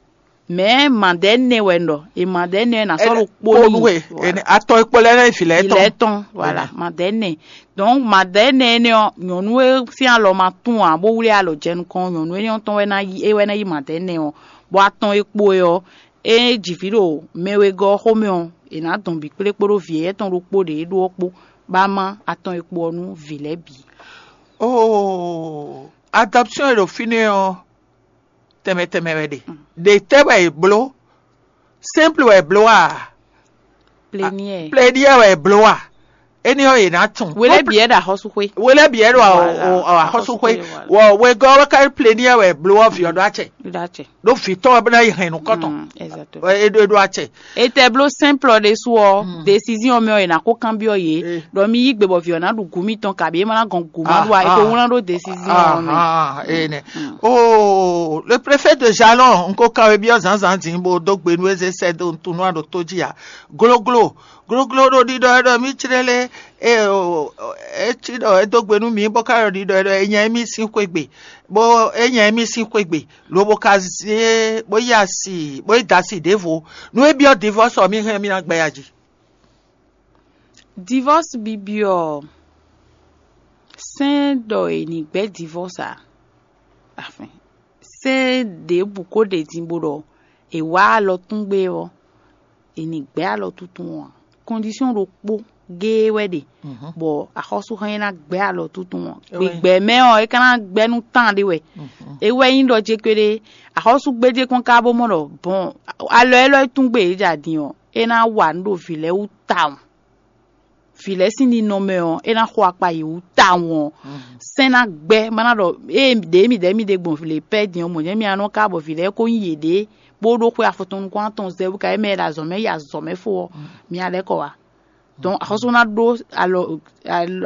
Mɛ̌ madɛ̌nɛ wɛ un ɖɔ? E madɛ̌nɛ ná sɔ́ ɖo kpó Kpónú n'i. E Atɔ e kpo lɛ́ɛ nɔ nyi vǐ lɛ́ɛ tɔn. Vǐ lɛ́ɛ tɔn, voilà, madɛ̌nɛ. Donc madɛ̌nɛ énɛ́ ɔ́, nyɔ̌nu e sín alɔ ma tún ǎ, bó wlí alɔ jɛ nukɔn ɔ́, nyɔ̌nu énɛ́ ɔ́ tɔn wɛ ná yí é wɛ ná yí madɛ̌nɛ ɔ́, bɔ atɔn e kpo é ɔ́, é ji vǐ ɖo mɛ wegɔ́ ɔ́ xomɛ ɔ́, è nǎ dɔn bǐ kplé kpódó vǐ éyɛ́ tɔn ɖokpó ɖě é ɖó ɔ́ kpó, bó ná má atɔn e kpo ɔ́ nú vǐ lɛ́ɛ bǐ. Oo, adɔpsyɔn e ɖo fínɛ́ ɔ́, tɛnmɛ tɛnmɛ wɛ ɖe. Ɖe tɛ́ wɛ è bló? Simple wɛ è bló a? Plenière. Plenière wɛ è bló a? Énɛ́ ɔ́, è nǎ tunwun. Wele bǐ wɛ ɖo axɔ́súxwé. Wele bǐ wɛ ɖo Voilà, axɔ́súxwé. Axɔ́súxwé, voilà. Wɔ wegɔ́ wɛ ka plenière wɛ è bló ɔ́, vǐ ɔ́ ɖó acɛ. Ɖó acɛ. Ɖó vǐ tɔn wɛ bó ná yi hɛn nukɔn tɔn. Mm, exactement. Ɛ, é ɖó é ɖó acɛ. Etɛ bló simple ɖésú ɔ́, décision mɛ ɔ́, è nǎ ko kanbyɔ́ yě. Ɖɔ mi yí gbe bɔ vǐ ɔ́ ná ɖu gǔ mitɔn kabǐ é ma ná gɔn gǔ ma ɖu a, é ko wlán ɖó décision ɔ́ mɛ. Ah, ene. Oh, le préfet de Jalon, un ko kawe biɔ zanzan din bo do gbe nu eze sɛ do tunu a ɖo to jí a. Gloglo, gloglo ɖo ɖiɖɔ ɛ ɖɔ mi tsrɛ lé, e o, e tsi ɖɔ e do gbe nu mi bɔ ka ɖɔ ɖiɖɔ ɛ ɖɔ e nya emi sin xwegbe, bo e nya emi sin xwegbe, lobo ka zé bo yi asi, bo yi da asi ɖěvo. Nu e biɔ divorce ɔ mi hɛn mi na gbɛ ya jí. Divorce bibi ɔ́, sɛ́n ɖɔ è nǐ gbɛ́ divorce a? Afin, sɛ́n ɖěbǔ ko ɖe din bó ɖɔ è wá alɔ tún gbé ɔ́, è nǐ gbɛ́ alɔ tuntun ɔ́ ǎ. Condition ɖokpó géé wɛ ɖe, bɔ axɔ́súxán e ná gbɛ́ alɔ tuntun ɔ́, gbigbɛ mɛ ɔ́, é ka ná gbɛ́ nú tán ɖé wɛ. É wɛ nyí ɖɔ jé kpéɖé, axɔ́súgbéjé kpɔ́n ka bó mɔ ɖɔ bɔn alɔ élɔ́ e tún gbé yě ja din ɔ́, é ná wa nǔ ɖo vǐ lɛ́ɛ wú tawun. Vǐ lɛ́ɛ sín ninɔmɛ ɔ́, é ná xo akpa yě wú tawun ɔ́, sɛ́n ná gbɛ́, má ná ɖɔ ée ɖě mì ɖɛ̌ mì ɖe gbɔn lě pɛ́ din ɔ́, mɔ̌ jɛ́n mi anɔ ka bɔ vǐ lɛ́ɛ ko nyí yěɖée, bó ɖó xwé afɔtɔn nukún atɔn zɛ bó ka yě mɛ e ɖo azɔ̌ mɛ yi azɔ̌ mɛ fó ɔ́, mi ná lɛ́ kɔ wá. Donc axɔ́sú ná ɖó alɔ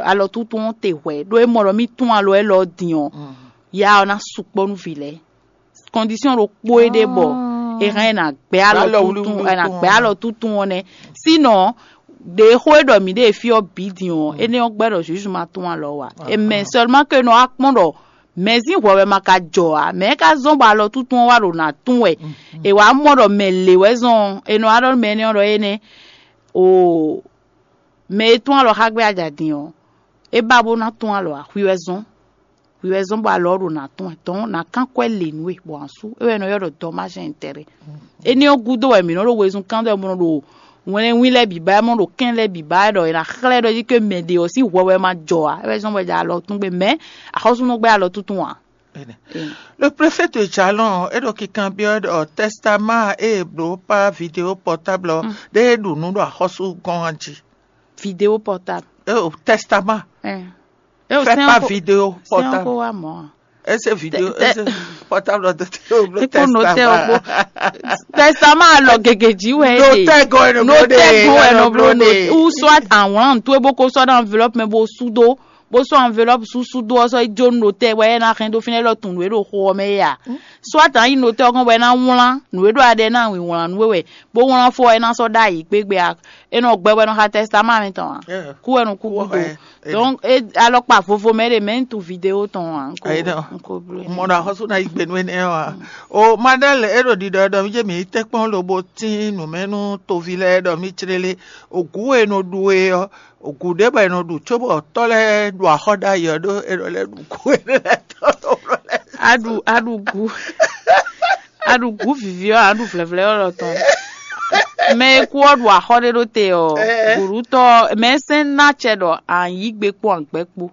alɔ túntún ɔ́ te hwɛ̌, ɖó é mɔ ɖɔ mì tún alɔ élɔ́ din ɔ́, ya ɔ́ ná sukpɔ́ nú vǐ lɛ́ɛ. Condition ɖokpó é ɖe bɔ è hɛn ɛ nǎ gbɛ́ alɔ Alɔ túntún wlíwlí ɛ nǎ tɔn gbɛ́ ɔ́. Alɔ túntún ɔ́ nɛ́. Sinon ɖě xó e ɖɔ mǐ ɖe fí ɔ́ bǐ din ɔ́, énɛ́ ɔ́ gbɛ́ ɖɔ Jezu ma tún alɔ wǎ. Mɛ seulement que nɔ wá kpɔ́n ɖɔ mɛ̌ sín hwɛ wɛ ma ka jɔ ǎ, mɛ̌ ka zɔ́n bɔ alɔ túntún ɔ́ wá ɖo nǎ tún wɛ. È wǎ mɔ ɖɔ mɛ lě wɛ zɔ́n ɔ́, è nɔ wá ɖɔ nú mɛ énɛ́ ɔ́ ɖɔ énɛ́ o mɛ e tún alɔ xá gbé ajǎ din ɔ́, é ba bó ná tún alɔ ǎ, hwi wɛ zɔ́n. Hwi wɛ zɔ́n bɔ alɔ ɔ́ ɖo nǎ tɔn ɛ tɔn nǎ kán kwɛ́ lě nú we bɔ ǎ sú é wɛ è nɔ ylɔ́ ɖɔ dɔmáṣɛn tɛrɛ. Énɛ́ ɔ́ gúdo wɛ mǐ nɔ́ ɖo wezun kán ɖɔ mɔ ɖo wɛnlɛ́nwín lɛ́ɛ bǐ ba ɛ mɔ ɖo kɛ́n lɛ́ɛ bǐ ba ɛ ɖɔ è nǎ xlɛ́ ɖɔ jí ké mɛ ɖě ɔ́ sín hwɛ wɛ ma jɔ ǎ, é wɛ zɔ́n bɔ è jɛ alɔ tún gbe mɛ axɔ́súnɔ gbɛ́ alɔ túntún ǎ. Le préfet de Jalon é ɖo kikanbyɔ́ ɖɔ tɛstamá e è blǒ pá vidéo pɔtáblɔ ɖé e ɖu nǔ ɖo axɔ́sú gɔ́n ɔ́ jí. Vidéo pɔtáblɔ. Tɛstamá. Fais pas vidéo portable. Ese vidéo, ese portable de te o blo Eko notɛ o bo. Testament. Testament alɔ gege ji wɛ e de. Notɛ gɔn eno blo de. Notɛ gɔn eno blo de. Ou soit awlan to e bo ko sɔ ɖo enveloppe mɛ bo sudo, bo sɔ enveloppe su sudo ɔ sɔ jo notɛ wɛ e na hɛn do finɛ lɔ tun e ɖo xo ɔ mɛ ya. Soit an yi notɛ ɔ gɔn wɛ na wlan nu e ɖo aɖɛ na wi wlan nu e wɛ, bo wlan fɔ e na sɔ ɖo ayi kpegbe a. E nɔ gbɛ wɛ nɔ xa tɛsítámà mǐtɔn ǎ. Kú wɛ nɔ kú gúdo. Donc e alɔkpa vovo mɛ ɖe mɛ un tunwun vidéo tɔn ǎ. Un ko, un ko bló. Mɔ ɖo axɔ́sú ná yi gbe nú énɛ́ ɔ́ ǎ. O Madɛ́l, é ɖo ɖiɖɔ ɖɔ mí jɛ mǐ yi tɛ́nkpɔ́n lobo tín nǔ mɛ nú toví lɛ́ɛ ɖɔ mí clélé. Ogǔ e nɔ ɖu é ɔ́, ogǔ ɖé bɔ è nɔ ɖu cóbɔ tɔ́ lɛ́ɛ ɖu axɔ́ ɖ'ayǐ ɔ́ ɖó è nɔ lɛ́ ɖu gǔ énɛ́ lɛ́ɛ tɔn ɖo lɛ́ɛ. A ɖu a ɖu gǔ a ɖu gǔ vǐví ɔ́, a ɖu vlɛ̌vlɛ́ ɔ́ lɔ tɔn. Mɛ e kú ɔ́ ɖu axɔ́ ɖé ɖó te ɔ́, gǔɖutɔ́ mɛ sɛ́n ná acɛ ɖɔ a yǐ gbe kpó a gbɛ́ kpó.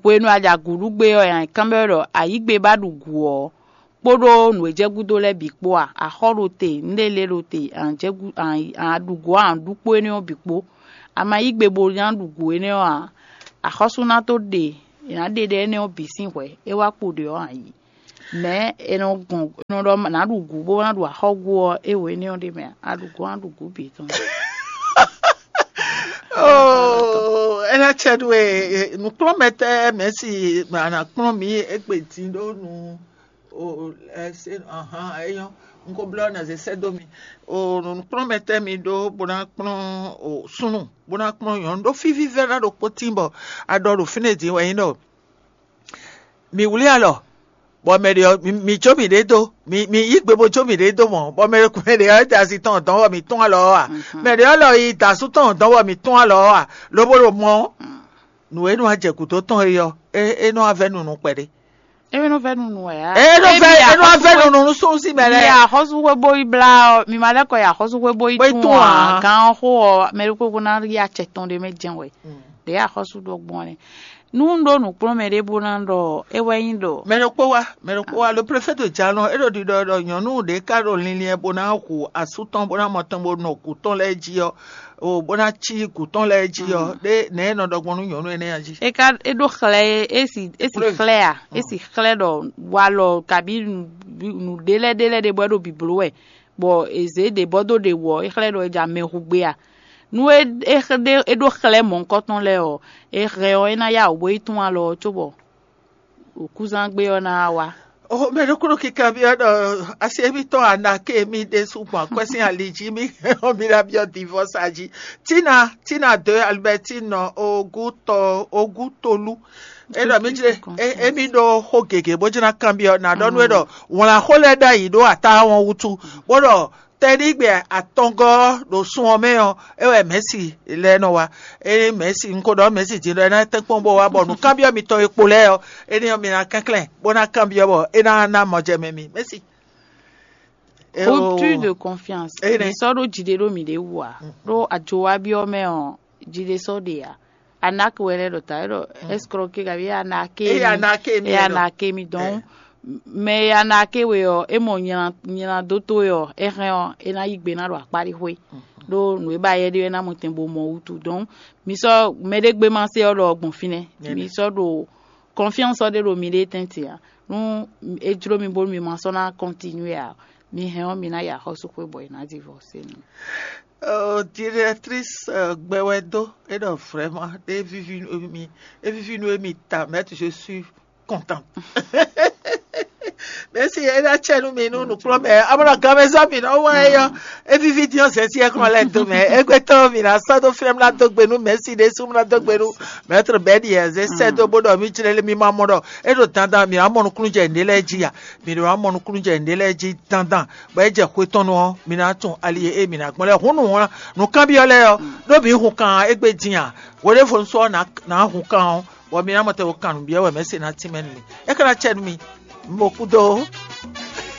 Hwenu e a ja gǔɖúgbe ɔ́, a kanbyɔ́ ɖɔ a yǐ gbe bá ɖu gǔ ɔ́, kpódó nǔ e jɛ gúdo lɛ́ɛ bǐ kpó a? Axɔ́ ɖo te, nǔɖé lɛ́ɛ ɖo te, a ɖu gǔ a ɖu kpó énɛ́ ɔ́ bǐ kpó. A ma yí gbe bo ná ɖu gǔ énɛ́ ɔ́ ǎ, axɔ́sú ná tó ɖe è nǎ ɖe ɖɛ énɛ́ ɔ́ bǐ sín hwɛ̌, é wá kpo ɖě ɔ́ ǎ yi. Mɛ̌ è nɔ gɔn è nɔ ɖɔ nǎ ɖu gǔ bó ná ɖu axɔ́ gú ɔ́, é wǒ énɛ́ ɔ́ ɖ'é mɛ ǎ. A ɖu gǔ ɔ́, ná ɖu gǔ bǐ tɔn. Oh, é ná cɛ nú we nǔkplɔ́nmɛtɛ́ mɛ̌si a nǎ kplɔ́n mǐ égbé din ɖó nu. O ɛ se ahan é nyɔ́. Un ko blɔ́ ná zé sɛ́ dó mi. O nǔkplɔ́nmɛtɛ́ mi ɖó bó ná kplɔ́n o súnnu bó ná kplɔ́n nyɔ̌nu ɖó fí vívɛ́ná ɖokpó tín bɔ a ɖɔ ɖo fínɛ́ din wɛ nyí ɖɔ mi wlí alɔ bɔ mɛ ɖě ɔ́ mi jó mǐɖée dó, mi yí gbe bó jó mǐɖée dó mɔ̌, bɔ mɛ mɛ ɖě ɔ́ da asi tɔn dɔn bɔ mǐ tún alɔ ɔ́ a? Mɛ ɖě ɔ́ lɔ yi da asú tɔn dɔn bɔ mǐ tún alɔ ɔ́ a? Lobo ɖo mɔ nǔ e nɔ wá jɛ gǔdo tɔn é ɔ́, é nɔ wá vɛ́ nunu kpɛɖé. É nɔ vɛ́ nunu wɛ á? É nɔ vɛ́ é nɔ wá vɛ́ nunu nú súnnu sín mɛ lɛ́ɛ. Mi axɔ́súxwé bó yi blá ɔ́, mi ma lɛ́ kɔ yi axɔ́súxwé bó yi tún ǎ. Gán ɔ́ xó ɔ́, mɛ ɖokpó ná yi acɛ tɔn ɖé mɛ jɛ́n wɛ. Ɖě axɔ́sú ɖɔ gbɔn ɛ. Nú un ɖó nǔkplɔ́nmɛ ɖé bó ná ɖɔ é wɛ nyí ɖɔ mɛ ɖokpó wá mɛ ɖokpó wá le préfet de jalɔn é ɖo ɖiɖɔ ɖɔ nyɔ̌nu ɖě ká ɖo linlin bó ná hu asú tɔn bó ná mɔ tɔn bó nɔ gǔ tɔn lɛ́ɛ jí ɔ́, o bó ná cí gǔ tɔn lɛ́ɛ jí ɔ́, ɖé nɛ̌ é nɔ ɖɔ gbɔn nú nyɔ̌nu énɛ́ ɔ́ jí? É ká é ɖó xlɛ́ é é si é si xlɛ́ a é si xlɛ́ ɖɔ walɔ kabí nǔɖé lɛ́ɛ ɖé lɛ́ɛ ɖé bɔ é ɖo bǐbló wɛ, bɔ è zě ɖě bɔ dó ɖě wú ɔ́, é xlɛ́ ɖɔ é ja mɛ hu gbé a? Nú é é xlɛ́ é ɖó xlɛ́ mɔ̌hunkɔtɔn lɛ́ɛ ɔ́, é hɛn ɔ́, é ná yá wǔ bó yi tún alɔ ɔ́ cóbɔ wǔkúzán gbe ɔ́ ná wá. O mɛ ɖokúnɔ kíkan byɔ́ ɖɔ asi émítɔn Anake mì ɖésú gbɔn akwɛ́ sín ali jí mì hɛn ɔ́ mi ná byɔ́ divɔsa jí. Tina Tina de Albertine Ogutɔ Ogutolu. É ɖɔ mí jlé émí ɖó xó gěgé bó jlá kanbyɔ́ ná ɖɔ nú é ɖɔ wlǎn xó lɛ́ɛ ɖ'ayǐ ɖó atá wɔn wútu, bó ɖɔ tɛnígbe atɔngɔ́ ɖo sun ɔ́ mɛ ɔ́, é wɛ mɛ̌si lɛ́ɛ nɔ wá. Ényí mɛ̌si un ko ɖɔ mɛ̌si din ɖɔ é ná tɛ́nkpɔ́n bó wá bɔ nǔkanbyɔ́ mitɔn e kpo lɛ́ɛ ɔ́, énɛ́ ɔ́ mi ná kɛnklɛ́n bó ná kanbyɔ́ bɔ é ná ná mɔjɛmɛ mi. Mɛ̌si. Rupture de confiance. Mi sɔ́ ɖó jiɖe ɖó mǐɖée wú ǎ, ɖó ajowabyɔ́ mɛ ɔ́, jiɖe sɔ́ ɖe ǎ. Anake wɛ lɛ́ ɖɔ ta é ɖɔ escroquer kabi anake. Eye anake mi e anake mi dɔn mɛ e anake we ɔ́, é mɔ nylá dó towe ɔ́, é hɛn ɔ́, é ná yí gbe ná ɖo akpáɖixwé. Ɖó nǔ e ba yɛ ɖe é ná mɔ tɛn bo mɔ wútu. Dɔn mi sɔ́ mɛɖé gbe ma se ɔ́ ɖɔ gbɔn fínɛ́. Mi sɔ́ ɖo confiance ɔ́ ɖe ɖo miɖée tɛ́ntin ǎ. Nú é jló mi bónú mi ma sɔ́ ná continuer ǎ, mi hɛn ɔ́, mi ná yi axɔ́súxwé bɔ è nǎ divorce mi. Directrice gbɛwɛdo é ɖɔ vraiment é vivi nú mi, é vivi nú émi ta, mais je suis content. Mɛsi é ná tsɛ nú mi nú nukplɔ́n mɛ amɔ́ ganmɛzɔ́ mi nɔ wá é yɔ. É vivi dín ɔ́ zɛ́n sí ɛ kɔn lɛ do mɛ é gbé tɔn mi ná sɔ́ dó flɛ́m ná dó gbe nú mɛsi ɖésú ná dó gbe nú mɛtr bɛ́ ɖi ɛ zé sɛ́ dó bó ɖɔ mí jlɛ́ lé mi ma mɔ ɖɔ é ɖo dandan mi ná mɔ nukúnnú jɛ nǔɖé lɛ́ɛ jí a? Mi ɖo ná mɔ nukúnnú jɛ nǔɖé lɛ́ɛ jí dandan. Bɔ é jɛ xwe tɔn nu ɔ́, mi ná tunwun ali e mi ná gbɔn lɛ́ɛ. Hǔn nǔ wlán nǔkanbyɔ́ lɛ́ɛ ɔ́, ɖó mi hun kan égbé din a? Hweɖěvo un sɔ́ ná hun kan ɔ́, bɔ mi ná mɔ tɛn wo kan nǔ byɔ́ wɛ mɛ̌ se ná tínmɛ nú mi. É ka ná cɛ nú mi, mo kú dó.